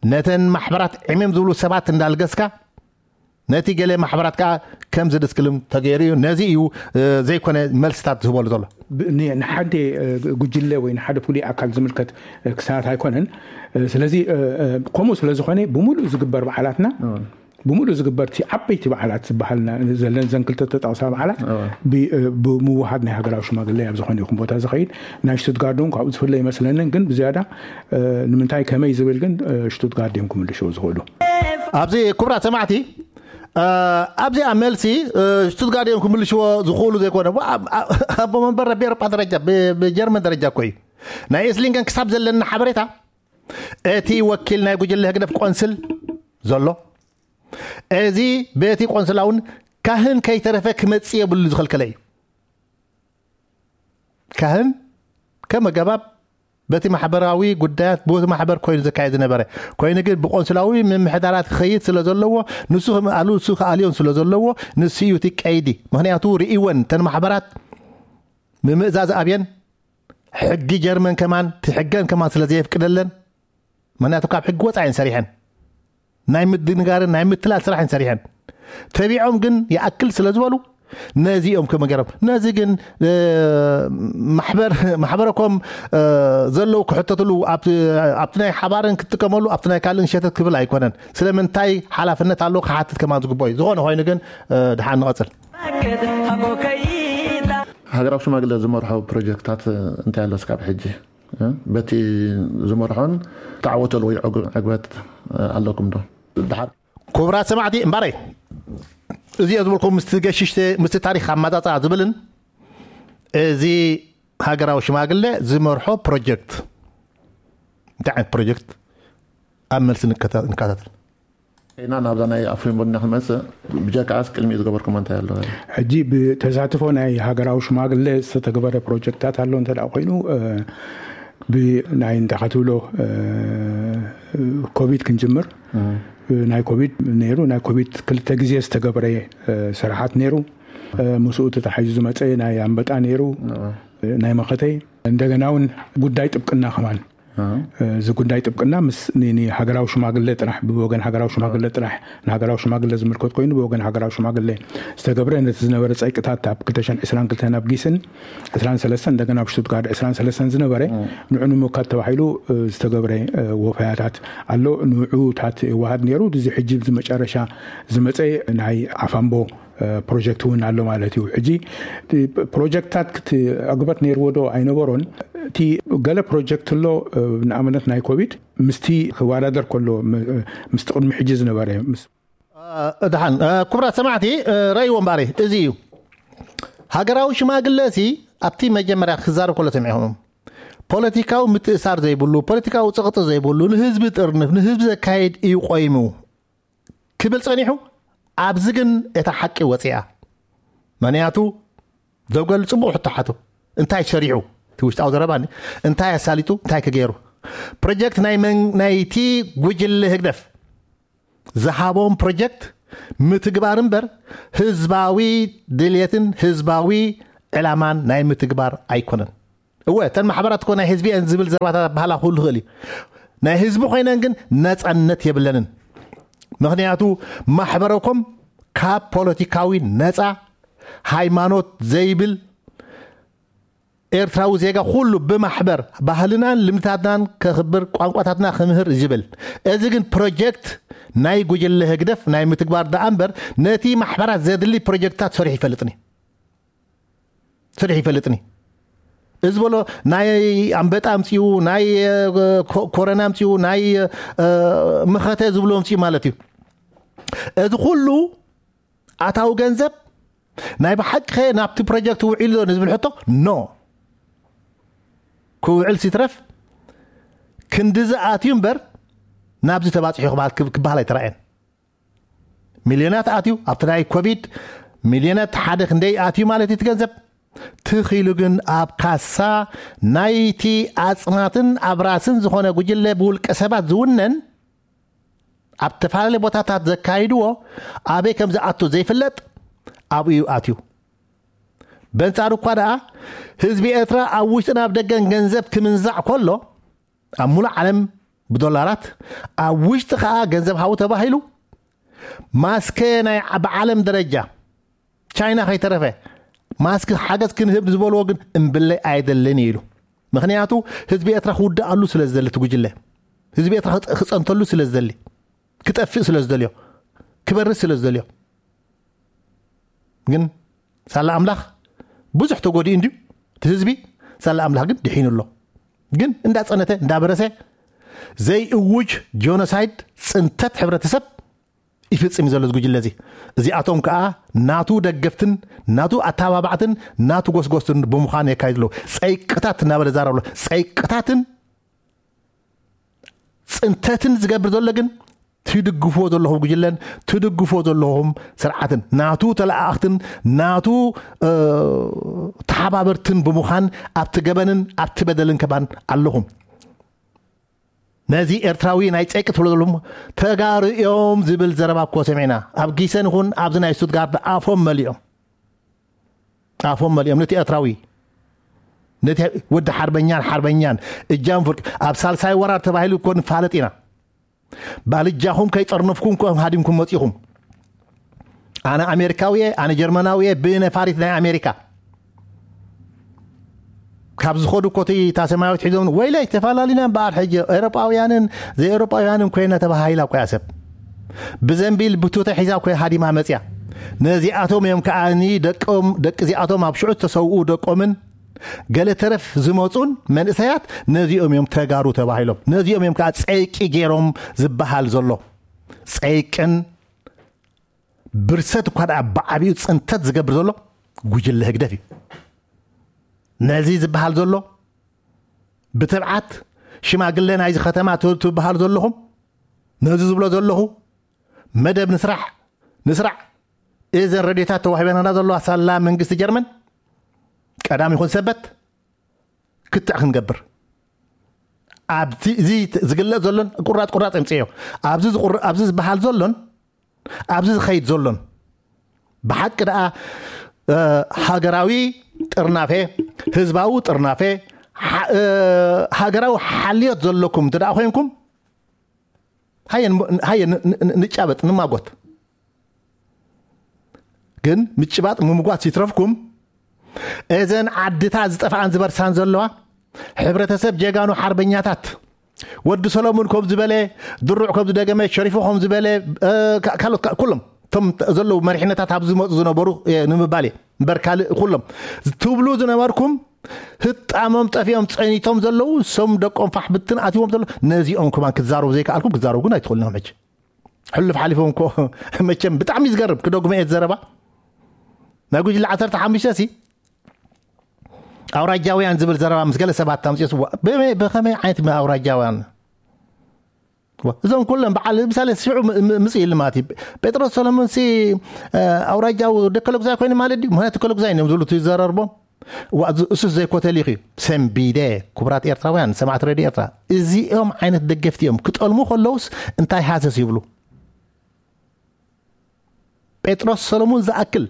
ነተን ማሕበራት ዕምም ዝብሉ ሰባት እንዳልገስካ፣ ነቲ ገለ ማሕበራት ከዓ ከም ዝድስክልም ተገይሩ እዩ። ነዚ እዩ ዘይኮነ መልስታት ዝህበሉ ዘሎ። ንሓደ ጉጅለ ወይ ንሓደ ፍሉይ ኣካል ዝምልከት ክሳት ኣይኮነን። ስለዚ ከምኡ ስለዝኾነ ብምሉእ ዝግበር በዓላትና ብምሉእ ዝግበርቲ ዓበይቲ በዓላት ዝበሃልና ዘለን ዘን ክልተ ተጠቕሳ በዓላት ብምውሃድ ናይ ሃገራዊ ሽማግለ ኣብ ዝኾነ ይኹን ቦታ ዝኸይድ፣ ናይ ሽቱትጋርድ እውን ካብኡ ዝፍለ ይመስለንን፣ ግን ብዝያዳ ንምንታይ ከመይ ዝብል ግን ሽቱትጋርድ እዮም ክምልሽዎ ዝኽእሉ። ኣብዚ ክቡራት ሰማዕቲ፣ ኣብዚኣ መልሲ ሽቱትጋርድ እዮም ክምልሽዎ ዝኽእሉ ዘይኮነ ኣቦ መንበር ረቢ ኤሮጳ ደረጃ ብጀርመን ደረጃ እኮ እዩ። ናይ ኤስሊንገን ክሳብ ዘለና ሓበሬታ እቲ ወኪል ናይ ጉጅለ ህግደፍ ቆንስል ዘሎ፣ እዚ በቲ ቆንስላ እውን ካህን ከይተረፈ ክመጽእ የብሉ ዝኸልከለ እዩ። ካህን ከም ኣገባብ በቲ ማሕበራዊ ጉዳያት ብቲ ማሕበር ኮይኑ ዘካየድ ዝነበረ ኮይኑ ግን ብቆንስላዊ ምምሕዳራት ክኸይድ ስለ ዘለዎ ንሱ ክምኣሉ ንሱ ክኣልዮን ስለ ዘለዎ ንሱ እዩ እቲ ቀይዲ። ምክንያቱ ርእወን ተን ማሕበራት ምምእዛዝ ኣብየን ሕጊ ጀርመን ከማን ትሕገን ከማን ስለ ዘየፍቅደለን ምክንያቱ ካብ ሕጊ ወፃ እየን ሰሪሐን ናይ ምድንጋርን ናይ ምትላል ስራሕ እየን ሰሪሐን ተቢዖም ግን ይኣክል ስለ ዝበሉ ነዚ እዮም ክመገሮም ነዚ ግን ማሕበረኮም ዘለዉ ክሕተትሉ ኣብቲ ናይ ሓባርን ክጥቀመሉ ኣብቲ ናይ ካልእን ሸተት ክብል ኣይኮነን። ስለምንታይ ሓላፍነት ኣሎ ክሓትት ከማን ዝግቦ እዩ። ዝኾነ ኮይኑ ግን ድሓን ንቐፅል። ሃገራዊ ሽማግለ ዝመርሖ ፕሮጀክታት እንታይ ኣሎ ስካብ ሕጂ በቲ ዝመርሖን ተዓወተሉ ወይ ዕግበት ኣለኩም ዶ? ድሓር ክቡራት ሰማዕቲ እምባረይ እዚኦ ዝበልኩም ምስቲ ገሽሽተ ምስቲ ታሪክ ኣመፃፅኣ ዝብልን እዚ ሃገራዊ ሽማግለ ዝመርሖ ፕሮጀክት እንታይ ዓይነት ፕሮጀክት ኣብ መልሲ ንከታተል። ኢና ናብዛ ናይ ኣፍሪም ቡና ክንመፅእ ብጀካዓስ ቅድሚኡ ዝገበርኩም እንታይ ኣሎ? ሕጂ ብተሳትፎ ናይ ሃገራዊ ሽማግለ ዝተተግበረ ፕሮጀክታት ኣሎ እንተ ኮይኑ ብናይ እንታይ ክትብሎ ኮቪድ ክንጅምር ናይ ኮቪድ ነይሩ ናይ ኮቪድ ክልተ ግዜ ዝተገብረ ስራሓት ነይሩ። ምስኡ ተታሒዙ ዝመፀ ናይ ኣንበጣ ነይሩ ናይ መኸተይ እንደገና እውን ጉዳይ ጥብቅና ከማን እዚ ጉዳይ ጥብቅና ምስ ሃገራዊ ሽማግለ ጥራሕ ብወገን ሃገራዊ ሽማግለ ጥራሕ ንሃገራዊ ሽማግለ ዝምልከት ኮይኑ ብወገን ሃገራዊ ሽማግለ ዝተገብረ ነቲ ዝነበረ ፀይቅታት ኣብ ክልተ ሽሕን ዕስራን ክልተን ኣብ ጊስን ዕስራን ሰለስተን እንደገና ኣብ ሽቱትጋርድ ዕስራን ሰለስተን ዝነበረ ንዑ ንምውካድ ተባሂሉ ዝተገብረ ወፈያታት ኣሎ። ንዑታት ይወሃድ ነይሩ። እዚ ሕጂ እዚ መጨረሻ ዝመፀ ናይ ዓፋምቦ ፕሮጀክት እውን ኣሎ ማለት እዩ። ሕጂ ፕሮጀክትታት ክትዕግበት ነይርዎ ዶ ኣይነበሮን? እቲ ገለ ፕሮጀክት ኣሎ ንኣብነት ናይ ኮቪድ ምስቲ ክወዳደር ከሎ ምስቲ ቅድሚ ሕጂ ዝነበረ ምስ ድሓን ክቡራት ሰማዕቲ ረእይዎ እምበኣሪ እዚ እዩ። ሃገራዊ ሽማግለ ሲ ኣብቲ መጀመርያ ክዛረብ ከሎ ሰሚዕኹም ፖለቲካዊ ምትእሳር ዘይብሉ ፖለቲካዊ ፀቕጢ ዘይብሉ ንህዝቢ ጥርንፍ ንህዝቢ ዘካይድ እዩ ቆይሙ ክብል ጸኒሑ። ኣብዚ ግን እታ ሓቂ ወፂኣ። ምክንያቱ ደብገል ፅቡቕ ሕቶ ሓቱ እንታይ ሰሪሑ እቲ ውሽጣዊ ዘረባ እንታይ ኣሳሊጡ እንታይ ክገይሩ ፕሮጀክት ናይ መን ናይቲ ጉጅለ ህግደፍ ዝሃቦም ፕሮጀክት ምትግባር እምበር ህዝባዊ ድልየትን ህዝባዊ ዕላማን ናይ ምትግባር ኣይኮነን። እወ እተን ማሕበራት እኮ ናይ ህዝቢ እየን ዝብል ዘረባታት ኣባህላ ክህሉ ይኽእል እዩ። ናይ ህዝቢ ኮይነን ግን ነፃነት የብለንን። ምክንያቱ ማሕበረኮም ካብ ፖለቲካዊ ነፃ ሃይማኖት ዘይብል ኤርትራዊ ዜጋ ኩሉ ብማሕበር ባህልናን ልምድታትናን ከኽብር ቋንቋታትና ክምህር ዝብል እዚ ግን ፕሮጀክት ናይ ጉጅለ ህግደፍ ናይ ምትግባር ደኣ እምበር ነቲ ማሕበራት ዘድሊ ፕሮጀክትታት ሰሪሑ ይፈልጥን እዩ። ስርሕ ይፈልጥኒ እዚ በሎ ናይ ኣንበጣ ኣምፅኡ ናይ ኮረና ኣምፅኡ ናይ መኸተ ዝብሎ ኣምፅኡ ማለት እዩ። እዚ ኩሉ ኣታዊ ገንዘብ ናይ ብሓቂ ናብቲ ፕሮጀክት ውዒሉ ዶ ንዝብል ሕቶ ኖ ክውዕል ሲትረፍ ክንድዚ ኣትዩ እምበር ናብዚ ተባፂሑ ክበሃል ክበሃል ኣይተራእየን። ሚልዮናት ኣትዩ ኣብቲ ናይ ኮቪድ ሚልዮናት ሓደ ክንደይ ኣትዩ ማለት እዩ እቲ ገንዘብ። ትኺሉ ግን ኣብ ካሳ ናይቲ ኣፅናትን ኣብራስን ዝኾነ ጉጅለ ብውልቀ ሰባት ዝውነን ኣብ ተፈላለየ ቦታታት ዘካይድዎ ኣበይ ከም ዝኣቱ ዘይፍለጥ ኣብኡ እዩ ኣትዩ። በንጻሩ እኳ ደኣ ህዝቢ ኤርትራ ኣብ ውሽጥን ኣብ ደገን ገንዘብ ክምንዛዕ ከሎ ኣብ ሙሉእ ዓለም ብዶላራት ኣብ ውሽጢ ከኣ ገንዘብ ሃቡ ተባሂሉ ማስከ ናይ ብዓለም ደረጃ ቻይና ከይተረፈ ማስክ ሓገዝ ክንህብ ዝበልዎ ግን እምብለይ ኣይደልን ኢሉ። ምክንያቱ ህዝቢ ኤርትራ ክውድኣሉ ስለ ዝደሊ እቲ ጉጅለ ህዝቢ ኤርትራ ክፀንተሉ ስለ ዝደሊ ክጠፍእ ስለ ዝደልዮ ክበርስ ስለ ዝደልዮ ግን ሳላ ኣምላኽ ብዙሕ ተጎዲኡ እንድዩ እቲ ህዝቢ ሳላ ኣምላኽ ግን ድሒኑ ኣሎ። ግን እንዳፀነተ እንዳበረሰ ዘይእውጅ ጆኖሳይድ ፅንተት ሕብረተሰብ ይፍጽም እዩ ዘሎ እዚ ጉጅለ እዚ። እዚኣቶም ከኣ ናቱ ደገፍትን ናቱ ኣተባባዕትን ናቱ ጎስጎስትን ብምዃን የካይድ ኣለዉ። ጸይቅታት እናበለ ዛረብ ኣሎ። ጸይቅታትን ጽንተትን ዝገብር ዘሎ ግን ትድግፍዎ ዘለኹም ጉጅለን ትድግፍዎ ዘለኹም ስርዓትን ናቱ ተለኣኣኽትን ናቱ ተሓባበርትን ብምዃን ኣብቲ ገበንን ኣብቲ በደልን ከባን ኣለኹም። ነዚ ኤርትራዊ ናይ ጸይቂ ትብሎ ዘለኹም ተጋሩ እዮም ዝብል ዘረባ እኮ ሰሚዕና። ኣብ ጊሰን ይኹን ኣብዚ ናይ ስቱትጋርድ ኣፎም መሊኦም ኣፎም መሊኦም ነቲ ኤርትራዊ ነቲ ወዲ ሓርበኛን ሓርበኛን እጃም ፍርቂ ኣብ ሳልሳይ ወራር ተባሂሉ እኮ ንፋለጥ ኢና። ባልጃኹም ከይጠርነፍኩም እኮ ሃዲምኩም መጺኹም። ኣነ ኣሜሪካዊ እየ፣ ኣነ ጀርመናዊ እየ፣ ብነፋሪት ናይ ኣሜሪካ ካብ ዝኸዱ ኮቲ እታ ሰማያዊት ሒዞም ወይለይ ተፈላለና እምበኣር ሕጂ ኤውሮጳውያንን ዘይኤውሮጳውያንን ኮይና ተባሃሂላ እኮ እያ ሰብ ብዘንቢል ብቱተ ሒዛ እኮ እያ ሃዲማ መጽያ። ነዚኣቶም እዮም ከዓኒ ደቆም ደቂ እዚኣቶም ኣብ ሽዑ ዝተሰውኡ ደቆምን ገለ ተረፍ ዝመጹን መንእሰያት ነዚኦም እዮም ተጋሩ ተባሂሎም። ነዚኦም እዮም ከዓ ጸይቂ ገይሮም ዝበሃል ዘሎ። ጸይቅን ብርሰት እኳ ደኣ ብዓቢኡ ጽንተት ዝገብር ዘሎ ጉጅለ ህግደፍ እዩ። ነዚ ዝበሃል ዘሎ ብትብዓት ሽማግለ ናይዚ ከተማ ት- ትበሃል ዘለኹም ነዚ ዝብሎ ዘለኹ መደብ ንስራሕ ንስራዕ እዘን ረድዮታት ተዋሂበናና ዘለዋ ሳላ መንግስቲ ጀርመን ቀዳም ይኹን ሰበት ክትዕ ክንገብር ኣብዚ እዚ ዝግለጽ ዘሎን ቁራጽ ቁራጽ የምጽዮ ኣብዚ ዝቁር ኣብዚ ዝበሃል ዘሎን ኣብዚ ዝኸይድ ዘሎን ብሓቂ ደኣ ሃገራዊ ጥርናፌ ህዝባዊ ጥርናፌ ሃገራዊ ሓልዮት ዘለኩም እንተ ደኣ ኮይንኩም ሃየ ንጫበጥ ንማጎት ግን ምጭባጥ ምምጓት ይትረፍኩም እዘን ዓድታት ዝጠፍኣን ዝበርሳን ዘለዋ ሕብረተሰብ ጀጋኑ ሓርበኛታት ወዲ ሰሎሙን ከም ዝበለ ድሩዕ ከም ዝደገመ ሸሪፎ ከም ዝበለ ካልኦት ኩሎም እቶም ዘለዉ መሪሕነታት ኣብ ዝመፁ ዝነበሩ ንምባል እየ እምበር ካልእ ኩሎም ትብሉ ዝነበርኩም ህጣሞም ጠፊኦም ፀኒቶም ዘለዉ እሶም ደቆም ፋሕ ብትን ኣትዎም ዘለዉ ነዚኦም ከማን ክትዛረቡ ዘይከኣልኩም ክትዛረቡ ግን ኣይትኽእሉን ሕጂ ሕሉፍ ሓሊፎም እኮ መቸም ብጣዕሚ ዝገርም ክደግሞ እየ ዘረባ ናይ ጉጅለ ዓሰርተ ሓሙሽተ ሲ ኣውራጃውያን ዝብል ዘረባ ምስ ገለ ሰባት ኣምፅኦ ብኸመይ ዓይነት ኣውራጃውያን እዞም ኩሎም በዓል ምሳሌ ሽዑ ምፅእ ኢሉ ማለት እዩ ጴጥሮስ ሰሎሞን ሲ ኣውራጃዊ ደከለጉዛይ ኮይኑ ማለት ድዩ ምክንያቱ ከለጉዛይ እዮም ዝብሉ ዝዘረርቦም እሱስ ዘይኮተሊኽ እዩ ሰንቢደ ክቡራት ኤርትራውያን ሰማዕት ረድዮ ኤርትራ እዚኦም ዓይነት ደገፍቲ እዮም ክጠልሙ ከለውስ እንታይ ሃሰስ ይብሉ ጴጥሮስ ሰሎሙን ዝኣክል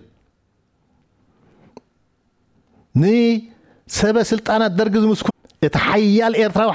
ንሰበ ስልጣናት ደርጊ ዝምስኩ እቲ ሓያል ኤርትራዊ